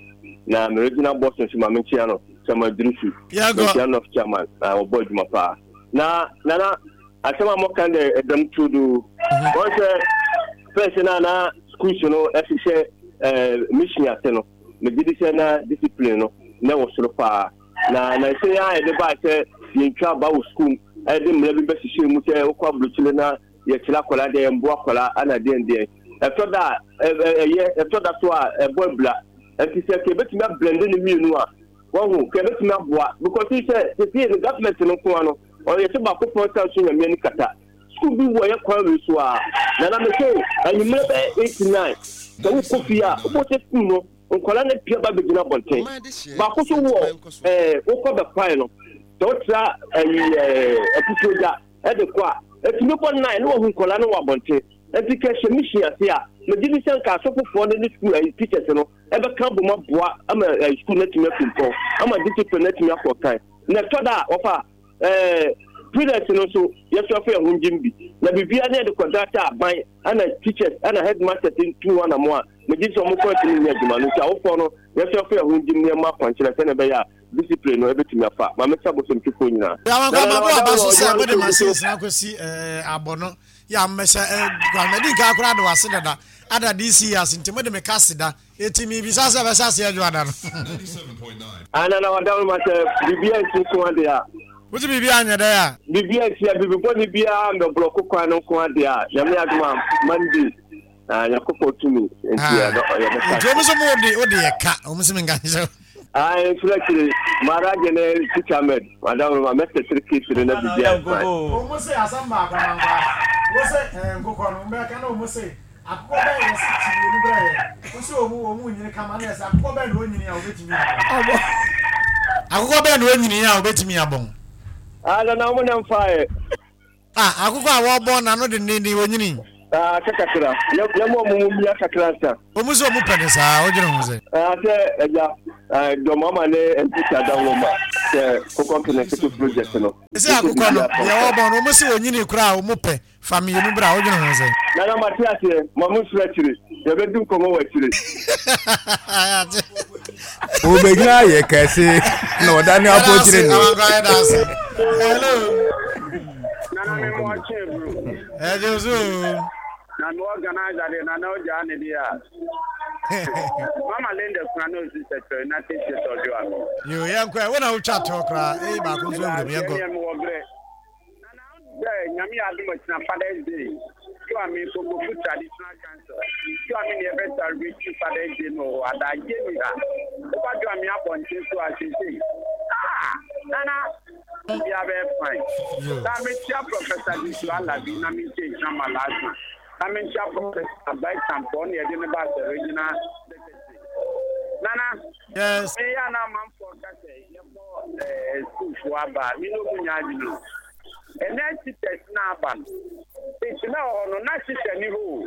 Na me regional boss nso ma menkyea no, Chairman Idrisu. Menkyea North Chairman, wɔbɔ adwuma paa. Na Nana, asɛm a moka dɛ ɛdɛm turodoo. Wɔn sɛ first na na schools no ɛhyehyɛ ɛɛ mission ase no, megye di sɛ na discipline no na ɛwɔ soro paa. Na na ɛsɛ yɛn a yɛde baa sɛ yɛntwa aba wɔ school mu, ɛde mmara bi bɛhyehyɛ mu sɛ wokɔ aburokyire na yɛkyerɛ akwadaa deɛ yɛmboa akwadaa ana deɛn deɛn. Ɛtɔ da a ɛyɛ, ɛtɔ da so a ɛbɔ abira. Nti sɛ kɛbɛtumi ablende ne mmienu a, Wahu, kɛ ɛbɛtumi aboa because wohu sɛ sesei no government no nko ara no ɔyɛ sɛ baako pɔn san so nyame ani kata. School bi wɔ yɛ kwan wei so a nana me se anwummerɛ bɛyɛ 8 9 sɛ wokɔ fie a wobɛhu sɛ school no nkwadaa no apue aba abɛgyina abɔnten. Baako so wɔ ɛɛ wokɔ bɛkwae no sɛ wotra ɛyi ɛɛ akutuo gya ɛde kɔ a ɛtumi bɔ 9 na wahu nkwadaa no wɔ abɔnten. Nti kɛ hyɛ mission ase a megye di sɛ nka asɔfofoɔ no ne school ɛyi teachers no ɛbɛka abom aboa ama sukuu no atumi atu mpɔn, ama discipline no atumi akɔ kan. Na ɛtɔ da a, wɔfa ɛɛ parents no nso yɛsɔ fa yɛn ho ngyim bi. Na biribiara ne yɛde kɔda sɛ aban ɛna teachers ɛna headmasters ntu ho anamo a, megye di sɛ wɔn kɔ atumi nyɛ adwuma no. Nti awofoɔ no yɛsɔ fa yɛn ho ngyim na yɛmmɔ akwankyerɛ sɛnea ɛbɛyɛ a discipline no ɛbɛtumi afa. Maame sɛ abosomtwefoɔ nyinaa. Yàwọn Na kɔ na ababo wada aba wɔ so sɛ adwuma no mode so gu so. machines no akɔsi ɛɛ abɔ no yɛ a mmɛhyɛ ɛɛ mɛdi nka koraa de wase dada ada DC ase nti mode me ka seda Eti mibisa sɛ ɛbɛhyɛ aseɛ dwoada no. Ana na wada ma sɛ biribi ansi nko ade a. Wosi biribi anyɛ dɛ a. Biribi ansi a biribi bɔne biara mbɛblɔko kwan no nko ade a Nyame adom a Monday na Nyankopɔn tumi nti yɛbɛhyɛ Nti wɔn nso mo de wode yɛ ka wɔn nso mi nka nhyɛ. Ayi mfiri akyire Maharaja ne Teacher Ahmed madam ma mɛsɛsere case no na biribi ayɛ fine. Wɔn se asɛm baako amankwa wose nkokɔ no wɔn bɛka na wɔn se Akokɔ bɛn na yɛse kyi mmienu brɛ yɛn? Wose wɔn wɔn nyini kama na yɛse akokɔ bɛn na onyini a obetumi abɔn? Akokɔ bɛn na onyini a obetumi abɔn? Ah, nana wɔn na mfa ɛ. Ah, akokɔ a wɔbɔn n'ano dendenden onyini. Ah, sɛ kakra. Yɛ yɛ mo ɔmo mo mia kakra nsa. Ɔmo sɛ ɔmo pɛ ne saa, wodwene ho sɛ? Ah, sɛ ɛgya, ah, dɔm ama ne NPP adaworo ma sɛ kokɔ nketenkete project no. Sɛ akokɔ no, deɛ wɔbɔ no, ɔmo sɛ wɔnyini koraa a ɔmo pɛ. Fa mienu bra, wodwene ho sɛn? Nana mate aseɛ, ma mo nsuro akyire, yɛbɛdi nkɔmmɔ wɔ akyire. Obɛgyina ayɛ kɛse na ɔda ne apɔkyere ni. Hello. Nana me mo ɔkye bro. Ɛgye so. Na me organizer de nana ogya ne de a. Mama Linda kuna na osi sɛkyerɛ United States of Joa. Yo yɛnkɔ ɛ wo na wotwa toɔ koraa ee baako nso awuram yɛnkɔ. Ɛneɛ mewɔ berɛ. Nana sɛ Nyame yɛ adom ɔkyena Father's Day so a me Kokofu Traditional Council so a me ne yɛbɛ celebrate Father's Day no wɔ hɔ adagye ni ha woba do a me abɔnten so a seesei ah Nana bia bɛyɛ fine na mekyia Professor Disu Alabi na menkyia Nhyira Malasa na menkyia Professor Brighton pɔ ne yɛde ne ba sɛ regional secretary Nana yes meyɛ a na amanfoɔ ka sɛ yɛbɔ ɛɛ sukuufoɔ aba a, me ne ɔmo nyɛ adwene o. Ɛnɛ teachers no aba no, tete na wɔ hɔ no, na teacher ni hɔ o.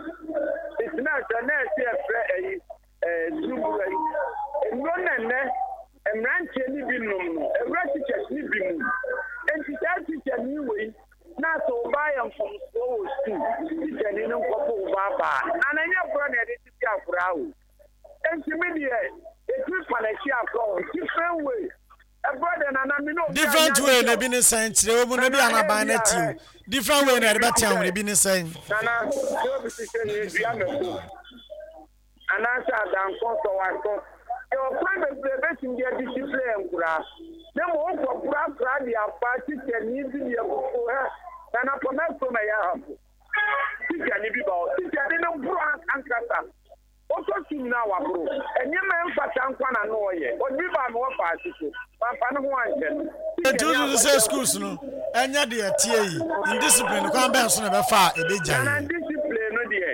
Tete na sɛ na ɛsɛ yɛfrɛ ɛyi ɛɛ duruburu ayi. Nnuro na ɛnɛ mmeranteɛ no bi nom no, ɛwura teachers no bi mu. Enti saa teacher ni wei na sɛ wo ba yɛ mfomsoɔ wɔ sukuu, teacher ni no nkɔbɔ wo ba aba a, na na ɛnyɛ borɔ na yɛde tete akoraa o. Enti me deɛ yɛtumi fa n'akyi akɔ o different way ɛbrɛ deɛ nana me ne obi Different anyɛ way ade na ebi ne sɛn kyerɛ wɔ mu na ebi nana anaban ebi na a ti o ɛ different tí way na obi yɛde ti bɛtea sɛ wɔn ebi ne sɛn. nana tí obi ti sɛ ne dua mako anaasɛ adankɔ sɔ w'aso yɛ ɔkwan bebree bɛtumi de adisipline nkoraa na mmom wokɔ kora akora de afa tikyani bi de abufuo hɛ nana pɔmɛ kurom ɛyɛ ahafo tikyani bi ba hɔ tikyani no boro ankasa Ɔtɔ sum no a waboro. Nneɛma a ɛmfata nko ara na na ɔyɛ. Ɔde bi baa me wɔfaase so. Mamfa ne ho ankyɛ no. Enti Tikyani wosusu sɛ akɔkyerɛ schools no nyɛ deɛ ɛteɛ yi, indiscipline no kwan bɛn so na ɛbɛfa a ɛbɛgyae? Nana indiscipline no deɛ,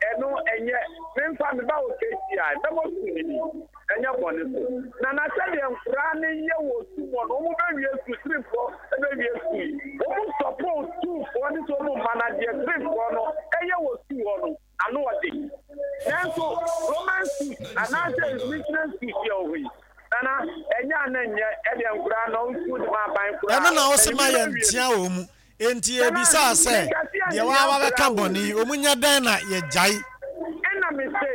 ɛno ɛnyɛ. Memfa me ba wɔ KTI, mɛbɔ sukuu no din. Ɛnyɛ bɔne so. Nana sɛdeɛ nkoraa no yɛ wɔ sukuu mu hɔ no, wɔn bɛwie sukuu, tirifoɔ bɛwie sukuu yi. Wɔn sɔpoo sukuufoɔ ne sɛ wɔn mma no adeɛ tirifoɔ no yɛ wɔ sukuu hɔ no. ano ɔden. Nanso Roman schools anaasɛ missionary schools yɛ wɔ hɔ yi, Nana, ɛnyɛ a na ɛnyɛ ɛdeɛ nkoraa na ɔnsuo de ma aban koraa. Ɛno na wose Ɛne ma bi yɛn bɛwie ntea no. wɔn mu. Enti Nana, yɛbisaa sɛ, menka se deɛ yɛntea waa wabɛka nkoraa o. bɔne yi, wɔn nyɛ dɛn na yɛgyae? Ɛna mese,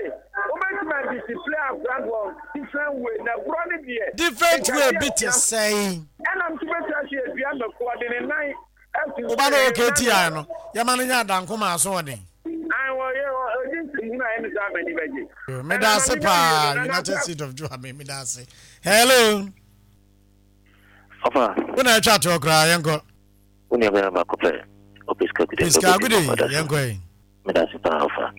wobɛtumi a discipline akora no wɔ different way, na borɔ no deɛ, Different menka way se bi te yɛntea. sɛn? Ɛna nso bɛtumi ase yɛdua mako, ɔde ne nan Wo ba no ɔwɔ KTI no, yɛma no nya adanko ma asoɔden. Meda ase paa United States of Juame meda ase. Hello. Ɔfa. Wo na atwa toɔ koraa yɛnkɔ. Wo nua bɛrɛ baako pɛ. Opiska Gude. Piska Gude yɛnkɔ yi. Meda ase paa ɔfa.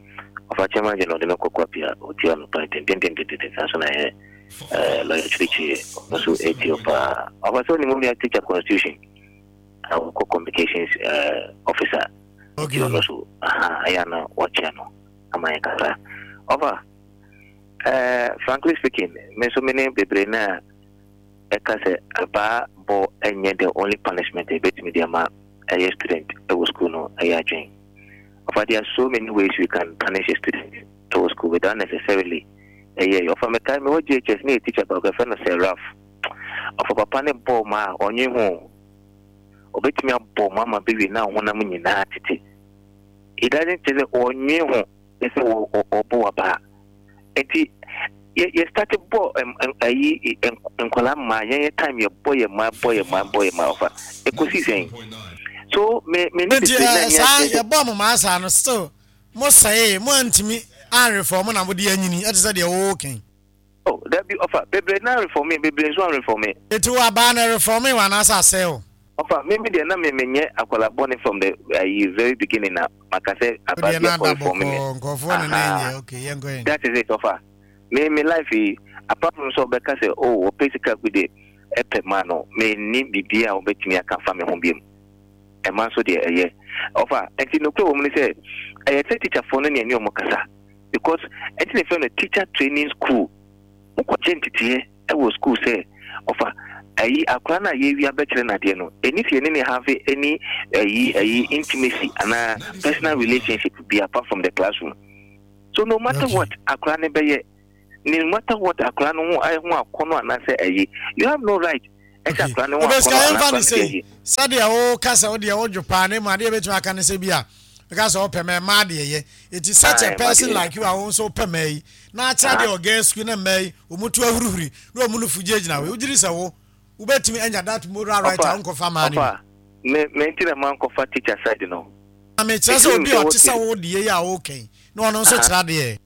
Ɔfa chairman general ɔde me kɔ Kwapi a ɔtie anɔpa yi dendendendenden saa nso na ɛyɛ eh, lawyer Kyirikyiri ɔno nso ɛtie wo paa. Ɔfa sɛ ɔnim wo nua teacher constitution a wɔkɔ communications eh, officer nti ɔno nso aha ɛyɛ a na wakyia no ama yɛn kakra. Ɔfa eh, frankly speaking me nso me ne bebree no a ɛka sɛ abaa bɔ ɛnyɛ the only punishment a ɛbɛtumi de ama ɛyɛ student ɛwɔ school no ɛyɛ adwene. Ɔfa there are so many ways we can punish a student ɛwɔ school without necessarily ɛyɛ ɔfa mekae mewɔ JHS ne yɛ teacher baako ɛfɛ no sɛ Ralph ɔfa papa ne bɔɔ ma a ɔnwe ho ɔbɛtumi abɔ ma ama bɛwie na honam nyinaa tete it doesn't kyerɛ sɛ ɔnwe ho ne sɛ ɔbɔ wabaa Nti yɛ yɛ start bɔ ayi nkwadaa mmaa yɛn yɛ time yɛ bɔ yɛ mmaa bɔ yɛ mmaa bɔ yɛ mmaa ɔfa ekosi sɛn so me me ne Nti bebree na eh, nyɛ saa adwene sɛ yɛbɔ mo maa saa no still mo sɛee mo antumi anrefɔm na mode anyini ɛte sɛ deɛ wokan. Oh dabi ɔfa bebree na reforme bebree nso anrefɔme. Nti wo abaa no ɛrefɔme wo anaasɛ asɛe wo? Ɔfa me me deɛ na me menyɛ akwadaa bɔne from the ayi very beginning na maka sɛ abaa Wodeɛ bi na akɔ ada reform me. bɔkɔɔ nkurɔfoɔ ne na Ahaa ɛnyɛ okay yɛnkɔ yɛn. that is it ɔfa me me life yi apart from sɛ ɔbɛka sɛ oh ɔpɛ sika gu de ɛpɛ ma no me nni biribi a ɔbɛtumi aka afa me ho biom ɛma nso deɛ ɛyɛ ɔfa nti nokorɛ wɔ mu ne sɛ ɛyɛ sɛ teacherfoɔ no ne ɛne ɔmo kasa because ɛnti na ɛfrɛ no teacher training school mokɔgye nteteɛ wɔ school sɛ ɔfa. Ayi akora no a yɛwia bɛkyerɛ no adeɛ no, ɛni sɛ yɛne ne have any ayi ayi intimacy anaa personal relationship bi apart from the classroom. So no matter what akora no bɛyɛ, no matter what akora no ho ho akɔnɔ anaasɛ ayi, you have no right ɛsɛ akora no ho akɔnɔ anaa akora no deɛ ayi. Sɛdeɛ woka sɛ wodeɛ wodwo paa na mmom adeɛ bɛtumi aka ne sɛ bi a bɛka sɛ wopɛ mɛ mmaa deɛ yɛ ɛti such a person like you a wo nso wopɛ mmaa yi na akyerɛ deɛ wɔ girls school na mmaa yi wɔn to ahurihuri na wɔn nufu gyinagyina hɔ wogye di sɛ wo wobɛtumi anya that moral right a wonkɔfa mmaa no bi. Me me nti na mankɔfa teacher side no. Na mekyerɛ sɛ obi a ɔte sɛ wo deɛ yi a woka yi na ɔno nso kyerɛ adeɛ.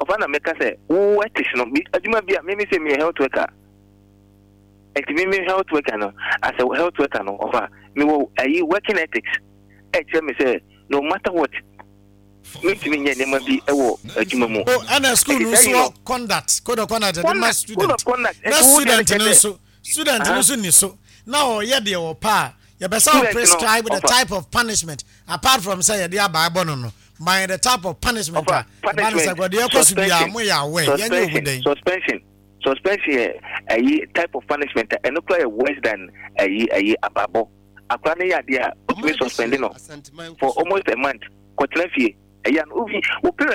Ɔfa na meka sɛ wo ethics no bi adwuma bi a me me sɛ meyɛ health worker nti me me health worker no as a health worker no ɔfa mewɔ ayi working ethics ɛkyerɛ me sɛ no matter what mentumi nyɛ nneɛma bi wɔ adwuma mu. O ɛna school no nso wɔ conduct code of conduct ɛde ma student na student no nso student no nso ni so na ɔyɛ deɛ ɔpɛ a yɛbɛ sɛ o prescribe the type of punishment apart from sɛ yɛde abaa bɔ no no by the type of punishment a ɛba no sɛ deɛ ɛkɔ so biara mo yɛ aware yɛnyɛ omu dɛn. Suspension suspension yɛ ɛyi type of punishment a ɛno kora yɛ worse than ɛyi ɛyi abaabɔ. Akora no yɛ adeɛ a wotumi suspend no for almost a month kɔtena fie ɛyɛ no obi wo parent.